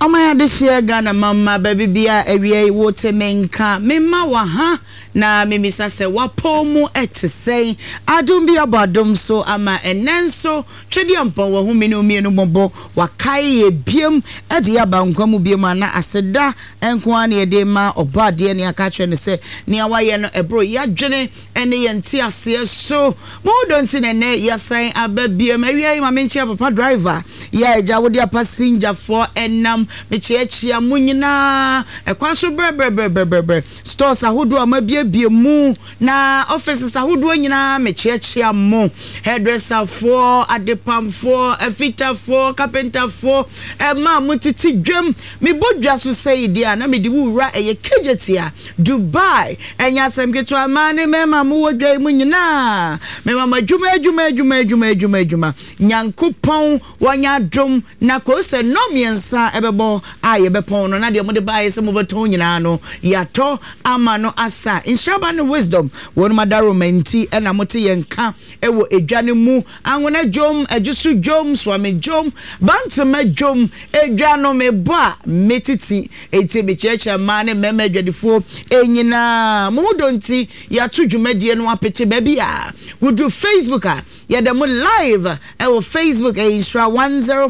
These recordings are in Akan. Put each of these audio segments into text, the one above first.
Ɔman adehyeɛ Ghana mamma baabi bia awia yi wo te me nka me ma wɔ ha na me misa sɛ wapɔw mu te sɛn adom bi abɔ adom so ama ɛnɛ nso Twedeampɔn wahu me ne wo mienu mmɔbɔ wakae yɛ biam de yɛ aba nkwa mu biam a na aseda nko ara na yɛde ma ɔbɔadeɛ ne aka akyerɛ no sɛ nea wayɛ no ɛboro yadwene ne yɛn nteaseɛ so. Mo ho dɔ nti na ɛnnɛ yɛasan aba biom. Awia yi ma menkyea papa driver yi a agya wode apasinjafoɔ ɛnam. Mekyeakyea mo nyinaa ɛkwan so brɛbrɛbrɛbrɛbrɛ. Stores ahodoɔ a moabiebie mu na offices ahodoɔ nyinaa mekyeakyea mo. Hairdresserfoɔ, adepamfoɔ, afitafoɔ, carpenterfoɔ, ɛma a motete dwam. Mebɔ dwa so sɛi deɛ a na mede wo wura ɛyɛ Kejetia. Dubai, ɛnyɛ asɛm ketewa, mmaa ne mmarima a mowɔ dwa yi mu nyinaa, mema mo adwuma, adwuma, adwuma, adwuma, adwuma, adwuma. Nyankopɔn wanya adom na koo sɛ nnɔn mmiɛnsa ɛbɛbɔ a yɛbɛpɔn no, na deɛ mode baeɛ sɛ mobɛtɔn nyinaa no, yɛatɔ ama no asa. Nhyira ne Wisdom, wɔnom adaworoma nti na mote yɛn nka wɔ edwa no mu. Anwona dwom, Adwoso dwom, Suame dwom, Bantama dwom, edwa no mebɔ a metiti. Enti mekyerɛkyerɛ mmaa ne mmarima adwadifoɔ nyinaa. Mo ho dɔ nti, yɛato dwumadie no apete baabi a. Woduru Facebook a, yɛda mu live wɔ Facebook, ɛyɛ Nhyira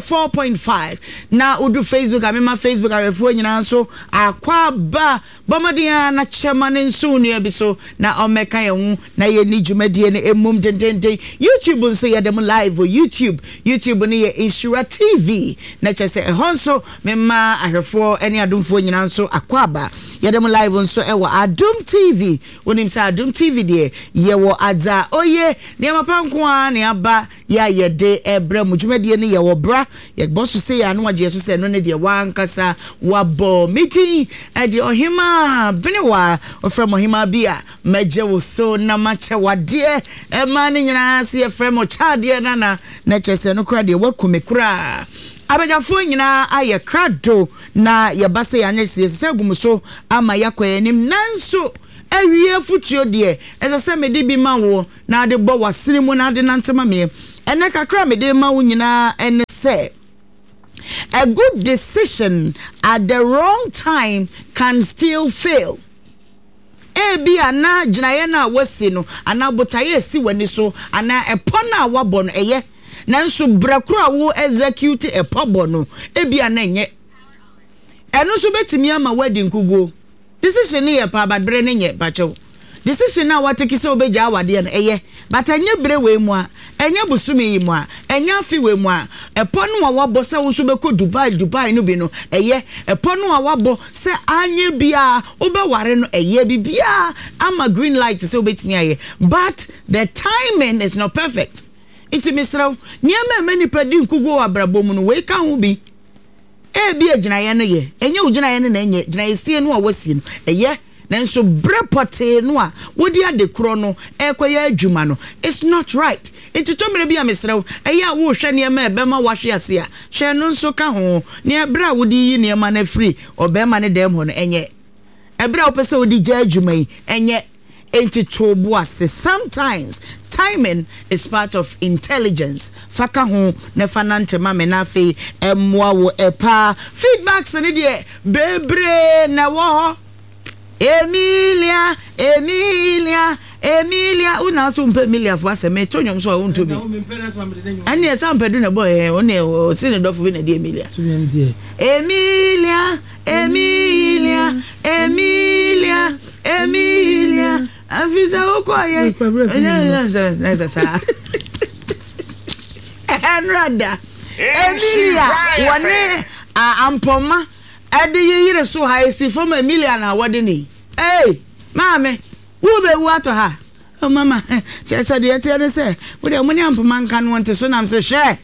104.5. Na woduru Facebook a, mema Facebook ahwɛfoɔ nyinaa nso akwaaba. Bɔ mmɔden ara na kyɛ ma no nso wo nua bi so na ɔmmɛka yɛn ho na yɛnni dwumadie no mmom dendenden. YouTube nso yɛda mu live wɔ YouTube. YouTube no yɛ Nhyira TV na kyerɛ sɛ ɛhɔ nso mema ahwɛfoɔ ne adomfoɔ nyinaa nso akwaaba. Yɛda mu live nso wɔ Adom TV. Wonim sɛ Adom TV deɛ yɛwɔ adza oye, nneɛma pa nko ara na aba Yɛ a yɛde rebrɛ mo dwumadie no yɛ wɔ bra yɛbɔ so sei a na wagye yɛ so sɛ ɛno ne deɛ w'ankasa wabɔ. Me din de Ɔhemaa Benewaa, wɔfrɛ me Ɔhemaa bi a mɛgye wo so na makyɛ w'adeɛ. Mmaa no nyinaa se yɛfrɛ me Ɔkyɛadeɛ Nana, na kyerɛ sɛ ɛno koraa deɛ waku me koraa. Abadwafoɔ nyinaa ayɛ krado na yɛba sɛ yɛanyɛ yɛsesa agu mo so ama yɛakɔ yɛn anim, nanso awie afotuo deɛ ɛsɛ sɛ mede bi ma wo. Na ade bɔ w'asene mu na ade nante ma meɛ. Ɛnnɛ kakra a mede rema wo nyinaa ne sɛ, a good decision at the wrong time can still fail. Ebia na gyinaeɛ no a woasi no anaa botaeɛ a ɛsi w'ani so anaa ɛpɔ no a woabɔ no ɛyɛ, nanso berɛ korɔ a wo execute ɛpɔ bɔ no ebia na ɛnyɛ. Ɛno nso bɛtumi ama woadi nkuguo. Decision no yɛ paa but bere no nyɛ pakyɛw. Decision no a watake sɛ wobɛgyaa awadeɛ no ɛyɛ but ɛnyɛ bere wei mu a, ɛnyɛ bosome yi mu a, ɛnyɛ afe wei mu a. Ɛpɔ no a wabɔ sɛ wo nso wobɛkɔ Dubai Dubai no bi no ɛyɛ, ɛpɔ no a wabɔ sɛ anyɛ biara wobɛware no ɛyɛ, biribiara ama green light sɛ wobɛtumi ayɛ but the timing is not perfect. Nti mesrɛ wo, nneɛma a ɛma nnipa di nkuguo wɔ abrabɔ mu no wei ka ho bi. Ebia gyinaeɛ no yɛ, ɛnyɛ wo gyinaeɛ no na ɛnyɛ, gyinaeɛsie no a woasie no, ɛyɛ, nanso berɛ pɔtee no a wode ade korɔ no rekɔyɛ adwuma no, it's not right. Nti tɔ mmerɛ bi a mesrɛ wo, ɛyɛ a worehwɛ nneɛma a ɛbɛma woahwe ase a, hwɛ ɛno nso ka ho, ne berɛ a wode reyi nneɛma no afiri ɔbarima no dɛm hɔ no, ɛnyɛ. Ɛberɛ a wopɛ sɛ wode gya adwuma yi, ɛnyɛ. Enti to wo bo ase. Sometimes timing is part of intelligence. Fa ka ho na fa nante ma me na afei ɛmmoa wo paa. Feedbacks no deɛ bebree na ɛwɔ hɔ. Emilia, Emilia, Emilia. Wo na so wompɛ Emiliafoɔ asɛm. Meto nnwom so a wonto bi. Ɛnneɛ sɛ ampɛ du na ɛbɔ ɛ, wo ne ɔse ne dɔfo bi na ɛde Emilia. Emilia. Emilia, Emilia, Emilia, afi sɛ wokɔɔyɛ ɛsɛ saa ɛnora da Emilia wɔne ampɔma ɛde yeyere so ha esi fam Emilia na wɔde ne ee maame wobɛwu atɔ ha oh, mama kyerɛ sɛ deɛ ɛteɛ ne sɛ wodeɛ mo ne ampɔma nka no nte so nam sɛ hwɛ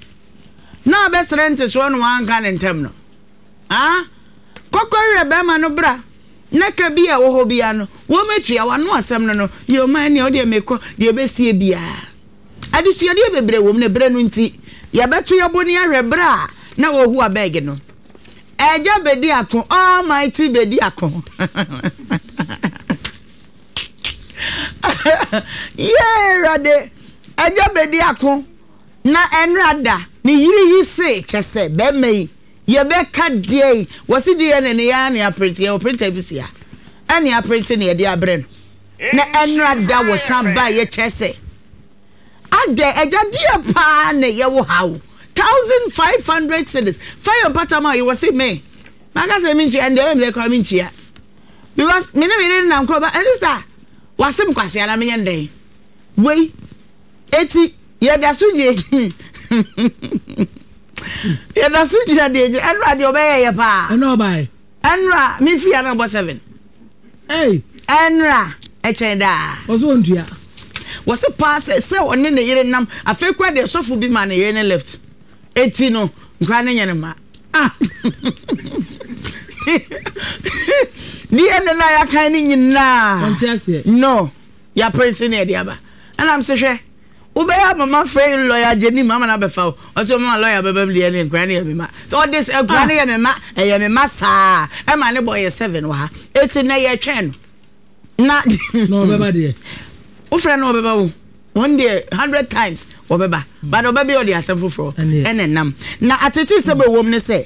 na ɔbɛsrɛ ntesoɔ no wanka ne ntam no. Ah, kɔkɔ werɛ bɛrima no bra na ka bi a ɛwɔ hɔ biara no wɔmɛtua w'ano asɛm no no yɛ ɔma ɛneɛ wodeɛ mekɔ deɛ ɛbɛsie biara. Adesuadeɛ bebree wɔ mu na berɛ no nti yɛbɛto yɛbo ne ahwɛ berɛ a na wɔhu abɛɛge no. Agya bɛdi ako, Almighty bɛdi ako. Yee Awurade, agya bɛdi ako na ɛnora da ne yere yi se kyɛ sɛ bɛrima yi. Yɛbɛka deɛn? Wɔse DNA no yɛ ara na yɛaprinte, yɛwɔ printer bi si ha, ɛna yɛaprinte na yɛde abrɛ no. Na ɛnora da wɔsan baeɛ kyerɛ sɛ adɛn agya deɛ paa na ɛyɛ wo haw? 1500 cedis fa yɛ mpata ma wo yere. Wɔse me maka sɛ mentua ɛndeɛ ɛyɛ me sɛ koraa mentua because me ne me yere nam kɔ ba ɛne sa wasem kwasea na menyɛ no dɛn wei. Eti yɛda so gyina yɛda so gyina deɛ gyina ɛnura deɛ ɔbɛyɛ yɛ paa. Ɛnura ɔbae. Ɛnura mi fi ana bɔ seven. Ɛy. Ɛnura ɛkyɛn daa. Wɔsi wɔn tua. Wɔsi paa sɛ sɛ ɔne ne yere nam afei kura deɛ sɔfo bi ma ne yere ne left eti no nkura ne nyɛ ne ma. Ah. Deɛ ne na yɛakan ne nyinaa. Wɔn ti aseɛ. No. Yɛaprente ne yɛde aba. Ɛna mese hwɛ, wobɛyɛ ama mafrɛ lɔya Gyenim ama no abɛfa wo. Ɔse ɔma lɔya bɛba mu deɛ ne nkora no yɛ me ma. Sɛ ɔde sɛ nkora no yɛ me ma, ɛyɛ me ma saa. Ɛma ne bɔ yɛ seven wɔ ha. Eti nnɛ yɛtwɛn no. Na. Na ɔbɛba deɛ. Wofrɛ no ɔbɛba wo. Wɔn deɛ 100 times wɔbɛba. But ɔba bi ɔde asɛm foforɔ ɛna ɛnam. Na atetee sɛ bɛwom ne sɛ,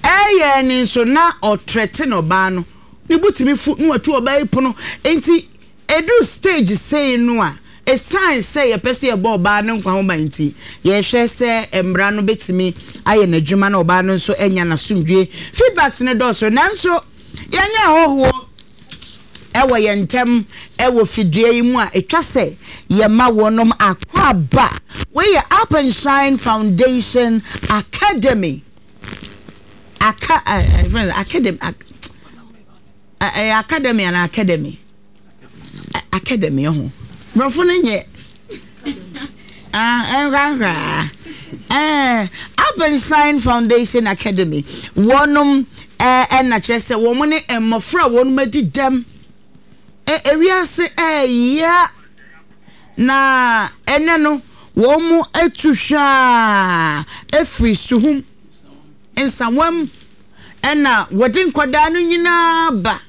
ɛyɛ ne nso na ɔtrɛte na ɔbaa no. Ne bo tumi fu na watu ɔbaa yi pono. Enti Ɛduru stage sei no a, ɛsiane sɛ yɛpɛ sɛ yɛbɔ ɔbaa no nkwa ho ban nti, yɛhwɛ sɛ mmara no bɛtumi ayɛ n'adwuma na ɔbaa no nso anya n'asomdwie. Feedbacks no dɔɔso, nanso yɛnyɛ ahɔhoɔ wɔ yɛn ntam wɔ fidua yi mu a ɛtwa sɛ yɛma wɔnom akwaaba. Wei yɛ Up and Shine Foundation Academy. Aka, uh, academy, Ɛyɛ academy anaa academy? Academy ɛho. Borɔfo no nyɛ nkorankoraa. Up and Shine Foundation Academy wɔnom ɛna kyerɛ sɛ wɔn ne mmɔfra a wɔnom adi dɛm. Ewiase ɛɛya na ɛnɛ no wɔn atu hwaa efiri suhum nsawam. Ɛna wɔde nkwadaa no nyinaa ba.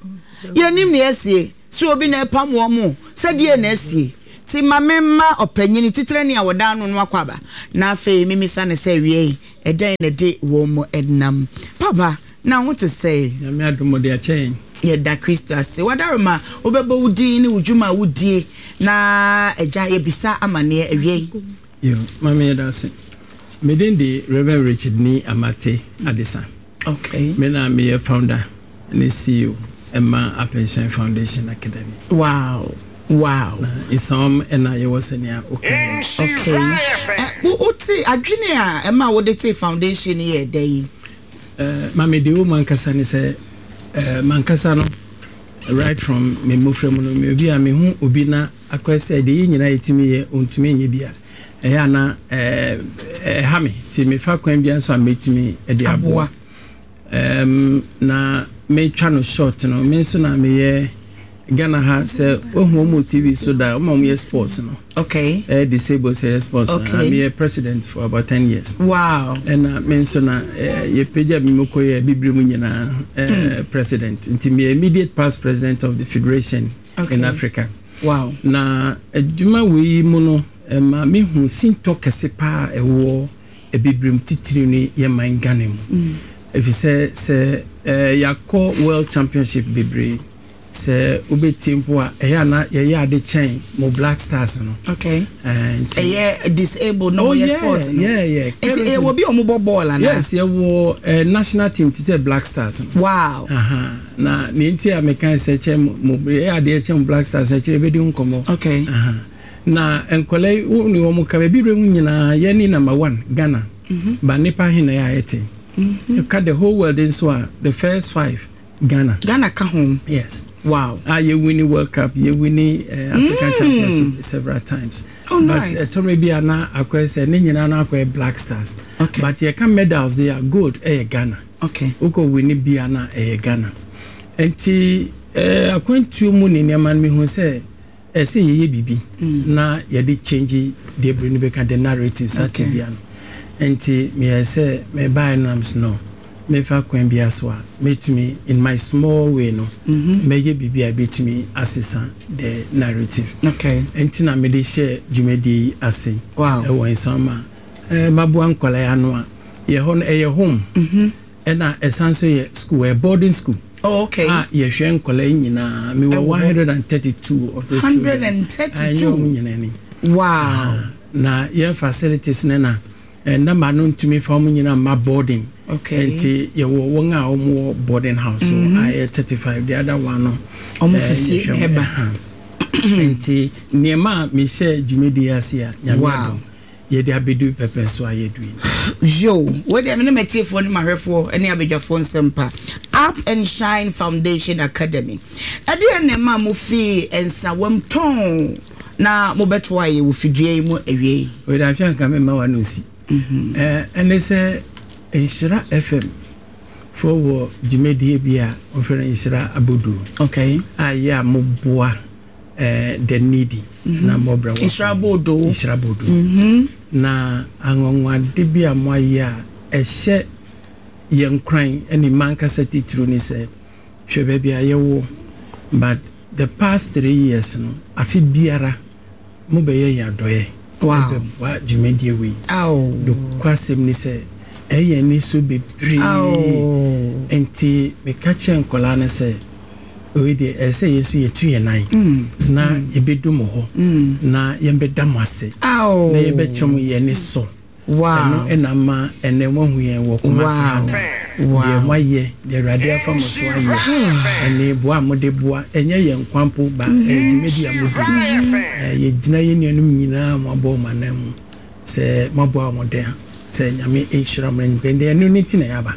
Yɛnnim nea asie, sɛ obi na ɛpam wɔn o, sɛ deɛn na asie. Nti ma memma ɔpanyini, titenani a wɔda ano no akwaaba, na afei memmisa no sɛ awiei ɛdɛn na ɛde wɔn nam. Papa, na ho te sɛn? Nyame adom, ɔde akyɛ yɛn. Yɛda Kristo ase. W'adaworoma, wobɛbɔ wo din ne wo dwuma a wodie, na Agya, yɛbisa amaneɛ awiei. Yo, Maame yɛda ase. Me din de Rev. Richard Nii Amartey Adesa. Okay. Me na meyɛ founder ne CEO ɛma Apenhyɛn Foundation Academy. Wow. Wow. Na Nsawam ɛna yɛwɔ sɛnea woka yi. Okay. Ɛ, wo te adwene a ɛma wode tee foundation yi yɛ dɛn? Eh, Maame deɛ ɛwɔ mu ankasa ne sɛ, eh, mankasa no, right from me mmofra mu no, me obi a mehu obi na Akɔyɛ sɛ deɛ yɛn nyinaa yɛtumi yɛ, ɔntumi nyɛ bi a, ɛyɛ a na ɛha me. Nti mefa kwan biara so a mɛtumi de aboa. Na metwa no short no, me nso na meyɛ Ghana ha sɛ wohu wɔn wɔ TV so da, wɔn a wɔyɛ sports no. Okay. Ɛyɛ disabled sɛ ɛyɛ sports. Okay. Meyɛ president for about 10 years. Wow. Ɛna me nso na yɛpagya me mu kɔyɛ bibire mu nyinaa president. Nti meyɛ immediate past president of the federation. okay. in Africa. Wow. Na adwuma wei mu no, ɛma mehu sintɔ kɛse paa a ɛwɔ Abibirem titiriw ne yɛn man Ghana mu. Efisɛ sɛ yɛakɔ World Championship bebree, sɛ wobɛtie mpo a, ɛyɛ a na yɛyɛ ade kyɛn mo Black Stars no. Okay. Ɛyɛ disabled na wɔyɛ sports no. Yeah, yeah. Nti ɛwɔ bi a wɔbɔ bɔɔl anaa? Yes, yɛwɔ national team te sɛ Black Stars no. Wow. Aha. Na nea nti a mekae sɛ kyɛ mo yɛ adeɛ kyɛ mo Black Stars akyire bɛdi ho nkɔmmɔ. Okay. Aha. Na nkwadaa yi wo ne wɔn ka baabi berɛ mu nyinaa yɛ ne number one Ghana. Mm -hmm. Ba nipa he na yɛ a yɛte. Mm -hmm. Ka the whole world nso a the first five Ghana. Ghana ka ho. Yes. Wow. A yɛ winni World Cup, yɛ winni uh, African Championship several times. Oh, nice. But ɛtɔ mmerɛ bi a na akɔyɛ sɛ ne nyinaa na akɔyɛ Black Stars. Okay. But yɛka medals deɛ a gold ɛyɛ Ghana. Okay. Wokɔ winni bia na ɛyɛ Ghana. Nti eh, akwantuo mu ne nneɛma no mehu sɛ ɛsɛ yɛyɛ biribi na yɛde change deɛ bere no bɛka the narrative saa Okay. tebea no. Nti meyɛɛ sɛ mebaeɛ no na mese no memfa kwan biara so a mɛtumi in my small way no mɛyɛ biribi a ɛbɛtumi asesa the narrative. Okay. Nti na mede hyɛɛ dwumadie yi ase Wow. ɛwɔ Nsawam a eh, maboa nkwadaa yi ano a yɛ hɔ no ɛyɛ home. Ɛna ɛsan nso yɛ school, ɛyɛ boarding school. Oh, okay. A yɛhwɛ nkwadaa yi nyinaa. Mewɔ 132 of these children. 132? Ɛnyɛ wɔn nyinaa ni. Wow. Na yɛn facilities no na number no ntumi fa wɔn nyinaa mma boarding. Okay. Nti yɛwɔ wɔn a wɔn wɔ boarding house so a ɛyɛ 35. The other one no. Wɔn fi fie na ɛba. Nti nneɛma a mehyɛ dwumadie ase a Nyame adom. Yɛde abedu pɛpɛ so a yɛadu yi. Yoo, wei deɛ me ne m'atiefoɔ ne m'ahwɛfoɔ ne abadwafoɔ nsɛm pa. Up and Shine Foundation Academy. Ɛdeɛn na ɛmaa mo fii Nsawam tɔnn na mobɛtoaa yɛ wɔ fidua yi mu awiei? Wei deɛ ahwɛ anka memma w'ano nsi. Ɛne sɛ Nhyira FM foɔ wɔ dwumadie bi a wɔfrɛ no Nhyira Aboduo. Okay. A yɛ a moboa the needy na mmɔbrɛ wɔ Nhyira Boodoo. Nhyira Boodoo. Na anwanwade bi a moayɛ a ɛhyɛ yɛn nkuran ne m'ankasa titiriw ne sɛ, hwɛ baabi a yɛwɔ, but the past 3 years no, afe biara mobɛyɛ yɛn adɔeɛ ɛbɛboa dwumadie wei. Nokwasɛm ne sɛ, ɛyɛ yɛn ani so bebree. Nti meka kyerɛ nkwadaa no sɛ, wei deɛ ɛsɛ sɛ yɛn nso yɛtu yɛn nan na yɛbɛdu mo hɔ na yɛbɛda mo ase na yɛbɛkyerɛ mo yɛn ani sɔ. Ɛno na ama ɛnnɛ moahu yɛn wɔ Kumasi ha no. Deɛ moayɛ, deɛ Awurade afa mo so ayɛ, ɛne boa a mode boa, ɛnyɛ yɛn nkwa mpo, ba ɛyɛ dwumadi a modi. Yɛgyina yɛn nuanom nyinaa a moabɔ wɔn ananmu sɛ moaboa wɔn dɛn sɛ Nyame nhyira mo. Ɛno nti na yɛaba.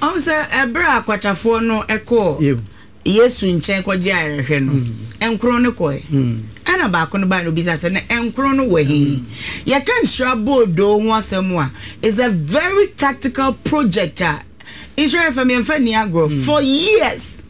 Ɔhu sɛ ɛberɛ a akwatafoɔ no kɔɔ Yesu nkyɛn kɔgye ayarehwɛ no, nkron no kɔe. Ɛna baako no bae na obisa sɛ, na nkron no wɔ he? Yɛka nhyira boodoo ho asɛm a, is a very tactical project a Nhyira FM yɛmfa nni agorɔ. For years,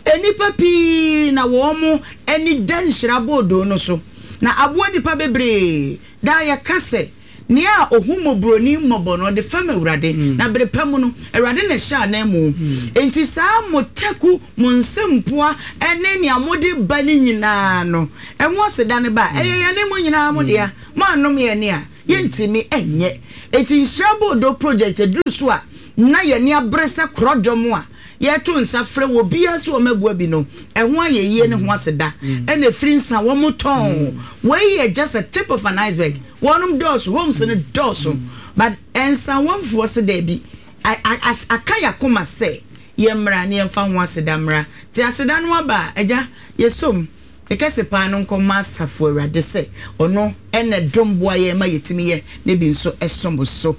nnipa pii na wɔn ani da nhyira boodoo no so, na aboa nnipa bebree. Daa yɛka sɛ, Nea ohu mmɔborɔni mmɔbɔ no, ɔde fɛm Awurade, na bere pa mu no, Awurade na ɛhyɛ ananmu. Enti saa mo taku, mo nsɛmpoa ne nea mode ba no nyinaa no, ɛho aseda no ba a, ɛyɛ yɛne mo nyinaa mo dea. Moannom yɛn ani a, yɛntumi nyɛ. Enti Nhyira Boodoo Project aduru so a na yɛn ani abere sɛ korɔdɔm a yɛto nsa frɛ obiara sɛ ɔmmɛboa bi no, ɛho ayɛyie ne ho aseda na ɛfiri nsa a wɔtɔn. Wei yɛ just a tip of an iceberg. Wɔnom dɔɔso, homes no dɔɔso, but nsawamfoɔ se daabi, aka yɛn akoma sɛ yɛmmra na yɛmfa ho aseda mmra. Nti aseda no aba a, Agya, yɛsɔ mu. Ne kɛse paa no nkɔ mma Asafo Awurade sɛ ɔno na ɛdom boa yɛn ma yɛtumi yɛ na ebi nso som so.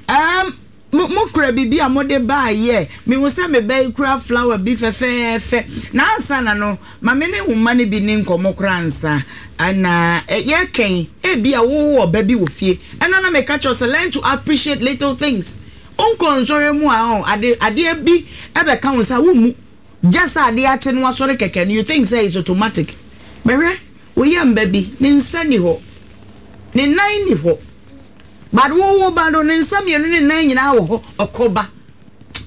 Um, Mo, mo kura biribi a mode baeɛ. Mehu sɛ me ba yi kura flower bi fɛfɛɛfɛ. Na ansa na no, ma me ne wo mma no bi nni nkɔmmɔ koraa ansa. Na yɛreka yi, ebia wowɔ ɔba bi wɔ fie. Ɛno na meka kyerɛ wo sɛ learn to appreciate little things. Wonkɔ nsɔhwɛ mu a, ɔn, ade, adeɛ bi bɛka wo nsa a, wommu. Just sɛ adeɛ akye na wasɔre kɛkɛ no, you think sɛ it's automatic. Bɛhwɛ, wo yam ba bi, ne nsa nni hɔ, ne nan nni hɔ. But wo wo ba no ne nsa mmienu ne nan nyinaa wɔ hɔ ɔkɔ ba.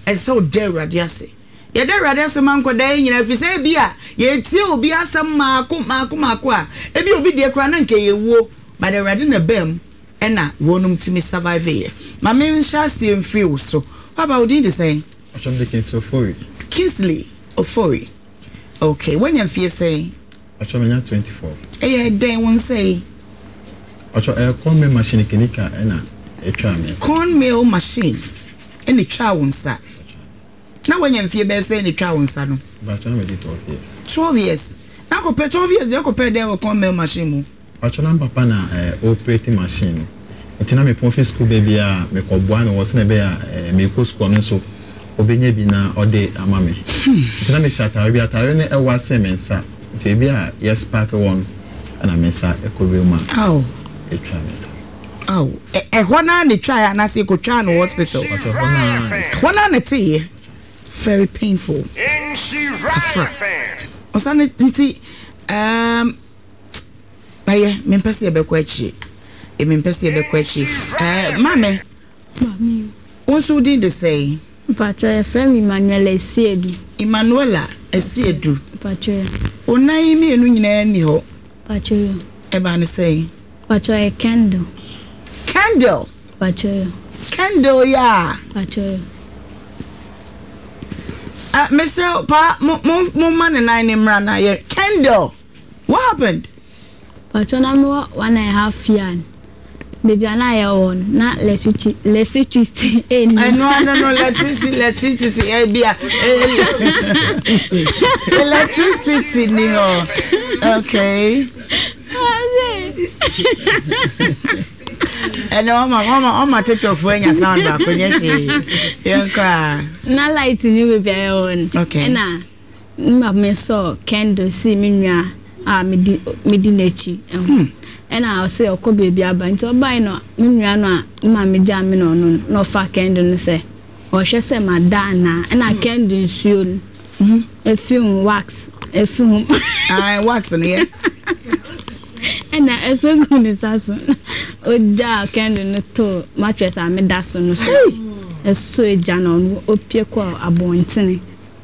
Ɛsɛ sɛ woda Awurade ase. Yɛda Awurade ase ma nkwadaa yi nyinaa ɛfiri sɛ ebi a yɛtie obi asɛm maako maako maako a ebi obi deɛ koraa na nka ɛyɛ wuo but Awurade na ɛbaa mu ɛna wɔnom tumi survive yɛ. Ma me nhyɛ aseɛ mfiri wo so. Papa wo din de sɛn? Ɔkyɛm de Kingsley Ofori. Kingsley Ofori. Okay, woanya mfie sɛn? Ɔkyɛ manya 24. Ɛyɛ dɛn wo nsa yi? Ɔkyɛ ɛyɛ corn mill machine kenika ɛna ɛtwaa me. Corn mill machine ɛna ɛtwaa wo nsa. Na woanya mfie bɛyɛ sɛn na ɛtwaa wo nsa no? Mpakyɛ na madi 12 years. 12 years. Na akɔpɛ 12 years deɛ ɛkɔpɛɛ dɛn wɔ corn mill machine mu? Mpakyɛ na me papa na ɔoperate machine no nti na mepɔn fi sukuu ba biara a mekɔ boa no wɔ sɛnea ɛbɛyɛ a meekɔ sukuu ɔno nso ɔbɛnya bi na ɔde ama me. Nti na mehyɛ ataare bi, ataare no ɛwa sen me nsa nti ebi a yɛ spark wɔ no ɛna me nsa ɛkɔ wiem a ɛtwa me nsa. Aw, ɛhɔ no ara na ɛtwaeɛ anaasɛ yɛkɔtwaa no wɔ hospital? Mpakyɛ ɛhɔ no ara na ɛtwaeɛ. Ɛhɔ no ara na ɛteeɛ. Very painful. Afra. Ɔsa no nti um, Ɛyɛ, mempɛ sɛ yɛbɛkɔ akyiri. E, mempɛ sɛ yɛbɛkɔ akyiri. Ɛɛ, maame. Maame. Wo nso wo din de sɛn? Mpakyɛ, yɛfrɛ me Emmanuela Asiedu. Emmanuela Asiedu. Mpakyɛ. Wo nan yi mmienu nyinaa nni hɔ. Mpakyɛ. Ɛbaa ne sɛn? Mpakyɛ, ɛyɛ candle. Candle? Mpakyɛ. Candle yi a? Mpakyɛ. Ah, mesrɛ wo paa mo mo mo ma ne nan ne mmra na yɛ Kendall what happened? Pacho na me wɔ one and a half year no baabi a na yɛ wɔ no na electricity electricity ɛnni. Ɛno ano no electricity electricity ɛbi a electricity ni hɔ okay. Ɛnɛ wama wama wama tiktok fo anya sound baako nyɛ hwee yɛn kɔ a. Na light ni baabi a yɛ wɔ no. Okay. Ɛna. Me maame sɔɔ candle sii me nua a medi medi n'akyi ho. Ɛna ɔse ɔkɔ baabi aba. Nti ɔbae no me nua no a me maame gyaa me na ɔno no na ɔfaa candle no sɛ ɔhwɛ sɛ mada anaa. Ɛna candle nsuo no efi ho wax efi ho. Ae wax no yɛ. Ɛna ɛsɔ guu ne nsa so. Ogyaa candle no too mattress a meda so no so. Ɛsɔ egya na ɔno opue kɔɔ abɔntene.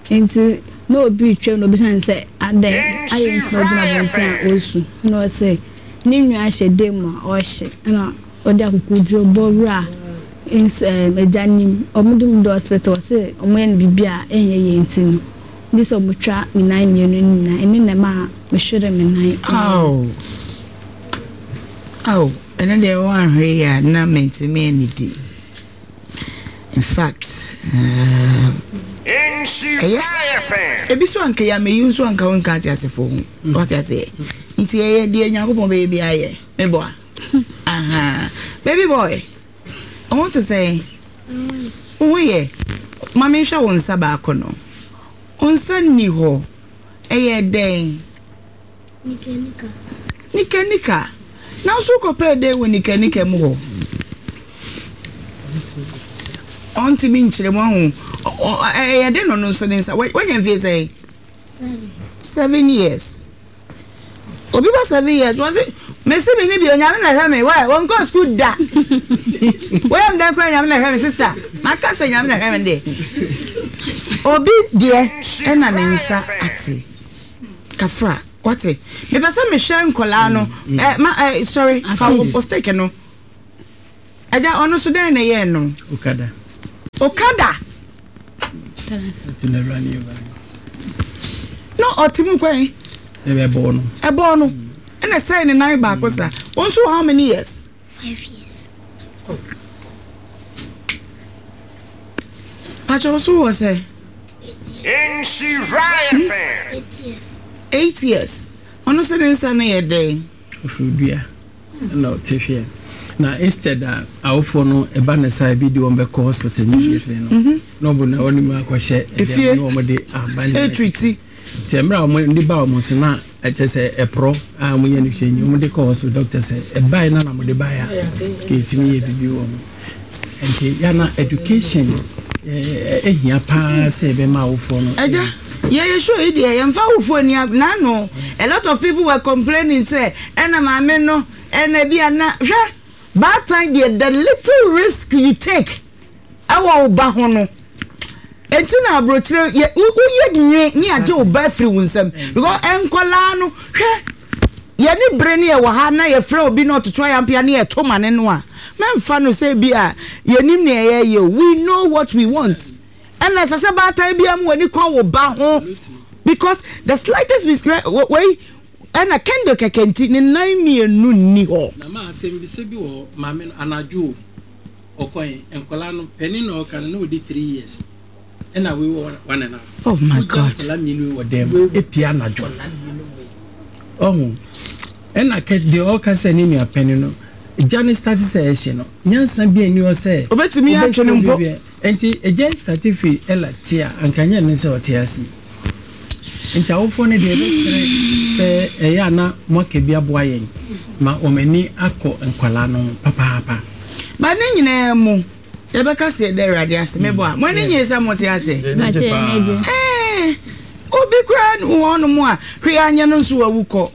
Enti na obi retwam na obisa no sɛ, Adɛn, adɛn nti na ogyina abɔnten a ɔresu? Ɛnna ɔse, Ne nua hyɛ dan mu a ɔrehye. Ɛnna ɔde akokoduro bɔ wuraa ns ɛɛm agya no mu. Wɔde no duu hospital, ɔse wɔyɛ no biribi a ɛnyɛ yie nti no, gye sɛ wɔtwa ne nan mmienu no nyinaa. Ɛno na ɛmaa mehweree me nan. Ao, ao, ɛno deɛ woanhwɛ yie a na mantumi annidi. In fact, ɛyɛ ebi so anka yɛ ameyi nso anka wo nka ate asefo ho. Wate aseɛ? Nti ɛyɛ deɛ Nyankopɔn bɛyɛ bi ayɛ. Meboa. Aha. Baby boy, wo ho te sɛn? Wo ho yɛ? Ma menhwɛ wo nsa baako no. Wo nsa nni hɔ. Ɛyɛ dɛn? Nikanika. Nikanika. Na nso wokɔpɛɛ dɛn wɔ nikanika mu hɔ? Ɔntumi nkyerɛ mu ahu. Ɛyɛ dɛn na ɔno nso ne nsa? Wanya mfie sɛn? Seven. 7 years. Obi ba 7 years wɔn se mesi mi ni bi onyame na ɛhwɛ mi wɛ wɔn kɔ sukuu da. Wɔyɛ mi dɛn kora nyame na ɛhwɛ mi sister. Maka sɛ nyame na ɛhwɛ mi deɛ. Obi deɛ ɛna ne nsa ate. Kafra, wate? Mepɛ sɛ mehwɛ nkɔlaa no. Ɛ ma ɛ sorry, fa wo stick no. Agya, ɔno so dɛn na ɛyɛɛ no? Okada. Okada. No, ɔte mu kwan. Ɛbɔɔ no. Ɛbɔɔ no. Ɛna ɛsɛe ne nan baako sa. Wɔn nso how many years? 5 years. Pakyɛ wo so wɔ sɛ? 8 years. 8 years. Ɔno nso ne nsa no yɛ dɛn? Ɔfiri dua ɛna ɔte hwɛ na instead a awofoɔ no ɛba ne saa ebi de wɔn bɛkɔ hospital immediately no na ɔbɔ na ɔne mu akɔhyɛ Efie. ɛdɛm na wɔn de aban ne Ɛtreat. Nti mmerɛ a wɔn de ba wɔn so na ɛkyɛ sɛ ɛporɔ a wɔn yɛ no hwɛ nyi wɔn de kɔ hospital doctor sɛ ɛbae na na wɔn de bae a kɛtumi yɛ bibi wɔ ho. Nti yana education ɛhia paa sɛ ɛbɛma awofoɔ no. Agya, yɛyɛ show yi deɛ yɛmfa awofoɔ ani ag n'ano. A lot of people were complaining sɛ ɛna maame no ɛna bi a na hwɛ baatan deɛ the little risk you take ɛwɔ wo ba ho no enti na aburokyire yɛ woyɛ nwe ne agye wo ba afiri wo nsam because nkɔlaa no hwɛ yɛne bere ne yɛwɔ ha na yɛfrɛ obi na ɔtoto ayampea ne yɛto ma ne no a mɛmfa no sɛ bi a yɛnim nea yɛyɛ o. We know what we want. Ɛna ɛsɛ sɛ baatan biara mu w'ani kɔ wo ba ho because the slightest mistake wei ɛna candle kɛkɛ nti ne nan mmienu nni hɔ. Na ma asɛmbisa bi wɔ hɔ, maame no anadwo o, ɔkɔe, nkwadaa no, panin na ɔka no na ɔdi 3 years, ɛna wei wɔ one and a half. Oh my Wogya God. nkwadaa mmienu yi wɔ dan mu, epia anadwo. Ɔho, ɛna kɛ deɛ ɔka sɛ ne nua panin no, gya no start sɛ ɛhye no, nyansa bi nni hɔ sɛ Obetumi atwe no mpo. wobɛhwɛ Nti agya yi start firi Ella te a, anka nyɛ ne sɛ ɔte ase yi. Nti awofoɔ no deɛ yɛbɛsrɛ sɛ ɛyɛ a na moaka bi aboa yɛn ma wɔn ani akɔ nkwadaa no ho papaapa. But ne nyinaa mu, yɛbɛka sɛ yɛda Awurade ase. Mebɔ a, mo ani nye sɛ mote ase? Bakyɛ yɛn ani gye. Ɛɛ, obi koraa wɔ hɔnom a hwee anyɛ no nso wawu kɔ.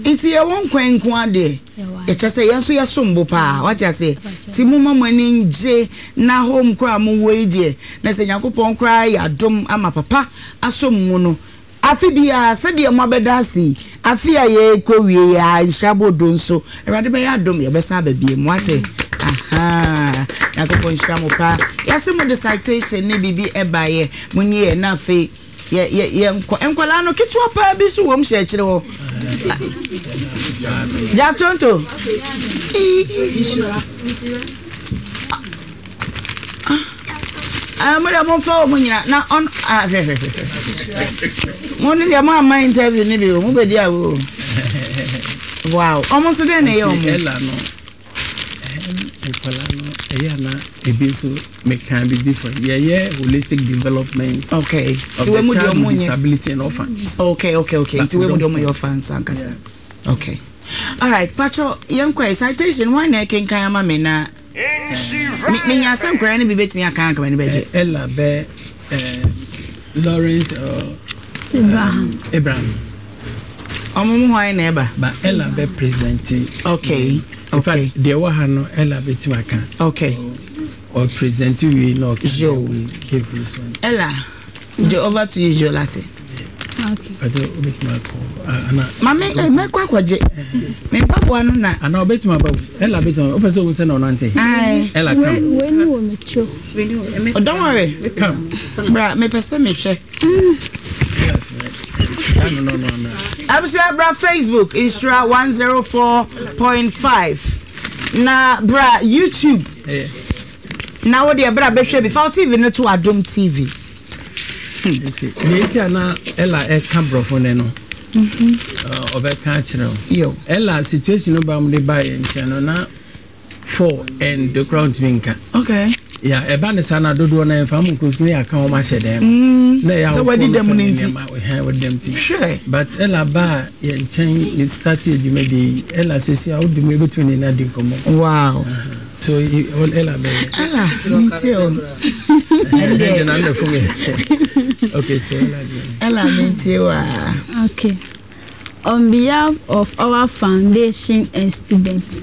Nti yɛwɔ nkwa nko ara deɛ, ɛkyerɛ sɛ yɛn nso yɛsom bo paa. Wate aseɛ? Nti momma mo ani ngye na home koraa a mowɔ yi deɛ, na sɛ Nyankopɔn koraa ayɛ adom ama papa asɔ mo mu no, afe biara sɛdeɛ moabɛda ase yi, afe a yɛrekɔ wie yi ara, nhyira bodo nso, Awurade bɛyɛ adom, yɛbɛsan aba biom. Wate? Ahaa. Nyankopɔn nhyira mo paa. Yɛase mo de citation ne biribi ɛbaeɛ. Monyi yɛ na afei yɛ yɛ yɛnkɔ. Nkwadaa no ketewa paa bi nso wɔ mu hyɛ akyire hɔ. Jack Tonto. Ah, mo deɛ momfa wɔ mo nyina na ɔn ah, hwɛ hwɛ hwɛ mo ne deɛ mo amma interview ne bi o mo bɛdi awo wow ɔmo nso dɛn na ɛyɛ ɔmo. Ɛla no nkwadaa no ɛyɛ ana ebi nso meka bibi for yɛyɛ holistic development. Okay of the child with disability and orphans. Okay nti wei mu deɛ ɔmo yɛ orphans ankasa. Okay alright pacho yɛn kɔ yɛ citation wɔn na ɛkenkan ama me na. Me menya sɛ nkwadaa no bi bɛtumi aka anka m'ani bɛgye. Ella bɛ Lawrence or Abraham. Abraham. Ɔmo mu hwan na ɛba? Ba Ella bɛ present. Okay. In fact, deɛ ɛwɔ ha no Ella bɛtumi aka. Okay. So, or present wei na ɔka we give this one. Ella, over to you, Jolate. Maame eh, mɛkɔ akɔgye me mpaboa no na. Ana ɔbɛtumi aba Ella bɛtumi aba wopɛ sɛ ohu sɛ na ɔnante. Ella come. Wei ni wɔ m'akyi o. Oh, don't worry. Come. Bra mepɛ sɛ mehwɛ. Abusua bra Facebook Nhyira 104.5 na bra YouTube. Na wo deɛ bra bɛhwɛ bi fa wo TV no to Adom TV. Nti nea nti a na Ella ɛka borɔfo nɛ no ɔbɛka akyerɛ wo. Ella situation no ba mu de ba yɛ nkyɛn no na four and de kora ntumi nka. Okay. Ya ɛba ne saa na dodoɔ na ɛmfa mu nkɔ sukuu yɛ aka wɔn ahyɛ dɛm. Mm. Na ɛyɛ awofo no fɛn nneɛma ɛhɛn wadi dɛm ti. But Ella ba yɛ nkyɛn yɛ start yɛ dwumadie yi Ella sisi a wodi mu ebetumi ne na di nkɔmɔ. Wow. Uh -huh. So Ella bɛyɛ. Ella mi ti o. Ɛnde na ndɛ fún mi. Okay, so Ella deɛ. Ella mi ti o aa. Okay. On behalf of our foundation and students,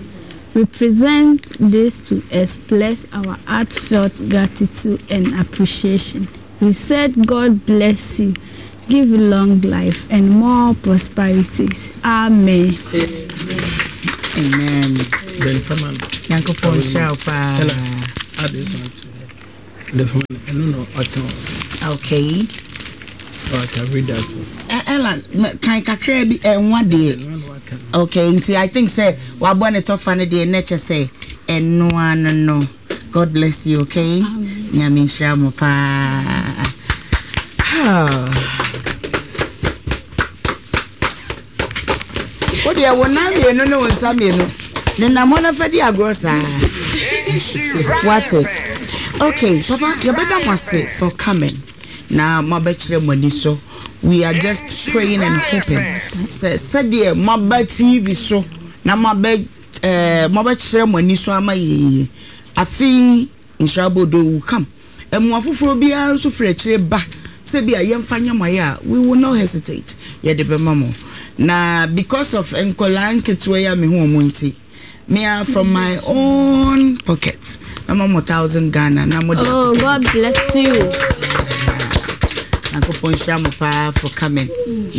we present this to express our heartfelt gratitude and appreciation. We said God bless you, give you long life and more prosperities. Amen. Amen. Ben Faman. Nyankopɔn nhyira wo paa. Ella, add this one to the phone. I don't know what Okay. Oh, I can read that one. Ella, kan kakra bi ɛnwa deɛ. Okay, nti I think sɛ wabɔ ne tɔfa no deɛ na kyɛ sɛ ɛnoa no no. God bless you, okay? Nyame nhyira mo paa. Wo deɛ wo nan mmienu ne wo nsa mmienu nenam hɔ na fa di agorɔ saa. Wate? Okay, papa, yɛbɛda mo ase for coming. Na moabɛkyerɛ mo ani so. We are just praying and hoping sɛ sɛdeɛ moaba TV so na moabɛ Eh, moabɛkyerɛ mo ani so ama yɛn yi. Afe yi, Nhyira Abodoo will come. Mmoa foforɔ biara nso firi akyire ba sɛ bi a yɛmfa nyɛ mo ayɛ a, we will not hesitate. Yɛde bɛma mo. Na because of nkwadaa nketewa yi a mehu wɔn nti, me ara from my own pocket, mɛma mo thousand Ghana na mo de Oh, God bless you. Nyankopɔn nhyira mo paa for coming.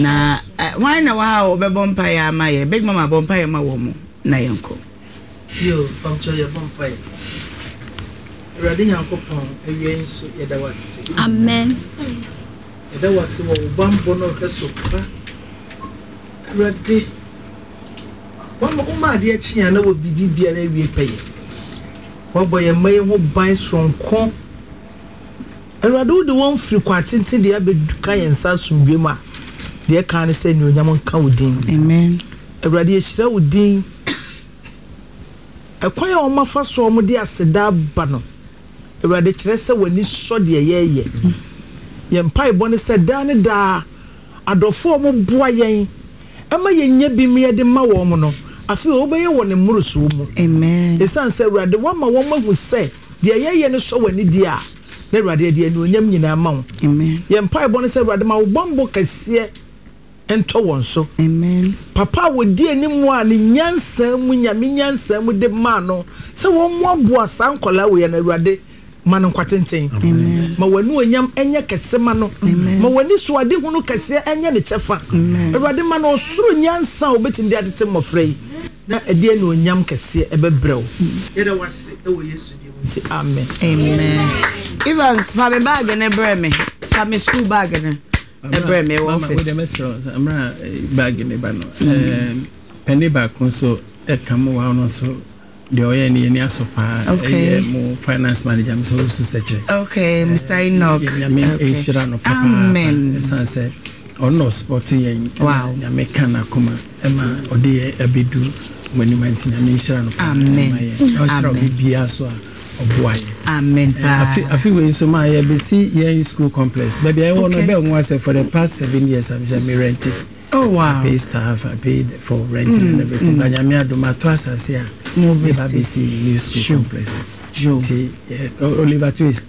Na Hwan na wɔ ha a ɔbɛbɔ mpaeɛ ama yɛn? Big Mama bɔ mpaeɛ ma wɔn na yɛnkɔ. Yo, mpakyɛw yɛbɔ mpaeɛ. Awurade Nyankopɔn, awia yi nso yɛda wo ase. Amen. Yɛda wo ase wɔ wo bammɔ ne ɔhwɛso pa. Awurade, wama woma adeɛ kye a na wɔ biribi biara awie pɛyɛ. Wabɔ yɛn mma yi ho ban soronko. Awurade, wode wɔn firi kwan tenten deɛ abɛka yɛn nsa asomdwoeɛ mu a, deɛ ɛka ne sɛ anuonyam nka wo din. Amen. Awurade, yɛhyira wo din. Ɛkwan a wɔafa so a wɔde aseda aba no, Awurade, kyerɛ sɛ w'ani sɔ deɛ yɛreyɛ. Yɛn mpaebɔ ne sɛ daa ne daa, adɔfoɔ a wɔboa yɛn ma yɛnya bi ma yɛde ma wɔn no, afei wobɛyɛ wɔn mmorosoɔ mu. Amen. Ɛsiane sɛ, Awurade, woama wɔahu sɛ deɛ yɛyɛ no sɔ w'ani deɛ a, na Awurade, yɛde anuonyam nyinaa ma wo. Amen. Yɛn mpaebɔ ne sɛ, Awurade, ma wo bammɔ kɛseɛ ntɔ wɔn so. Amen. Papa a wɔdi anim a ne nyansa mu, Nyame nyansa mu de maa no sɛ wɔmmoaboa saa nkwadaa wei ano, Awurade, ma no nkwa tenten. Amen. Ma w'anuonyam nyɛ kɛse ma no. Amen. Ma w'anisoadehunu kɛseɛ nyɛ ne kyɛfa. Amen. Awurade, ma no ɔsoro nyansa a ɔbɛtumi de atete mmɔfra yi, na ɛde anuonyam kɛseɛ bɛbrɛ wo. Yɛda wo ase wɔ Yesu din mu nti. nti, amen. Amen. Evans, fa me bag no brɛ me. Fa me school bag no brɛ me wɔ office. Mama, wode mɛsrɛ sɛ mmerɛ bag no ba no, pɛne baako nso ɛka mo wa no nso deɛ ɔyɛ no yɛni asɔ paa. Ɛyɛ mo finance manager Mr. Osu Sɛkyɛ. Okay, Mr. Enoch. Nyame nhyira no papaapa. Amen. Ɛsiane sɛ ɔno na ɔsupɔto yɛn. Wow. Nyame ka n'akoma ɛma ɔde yɛn abɛdu mo anim nti Nyame nhyira no paa. Amen. Ɔnhyira obi biara so a ɔboa yɛn. Amen paa. Afe wei nso maa yɛbɛsi yɛn school complex. Baabi a yɛwɔ no ɛbɛn nwa sɛ for the past 7 years am sɛ me rent. Oh wow. I pay staff, I paid for renting and everything. But Nyame adom ato asase a yɛba bɛsi new school complex. Nti Oliver Twist.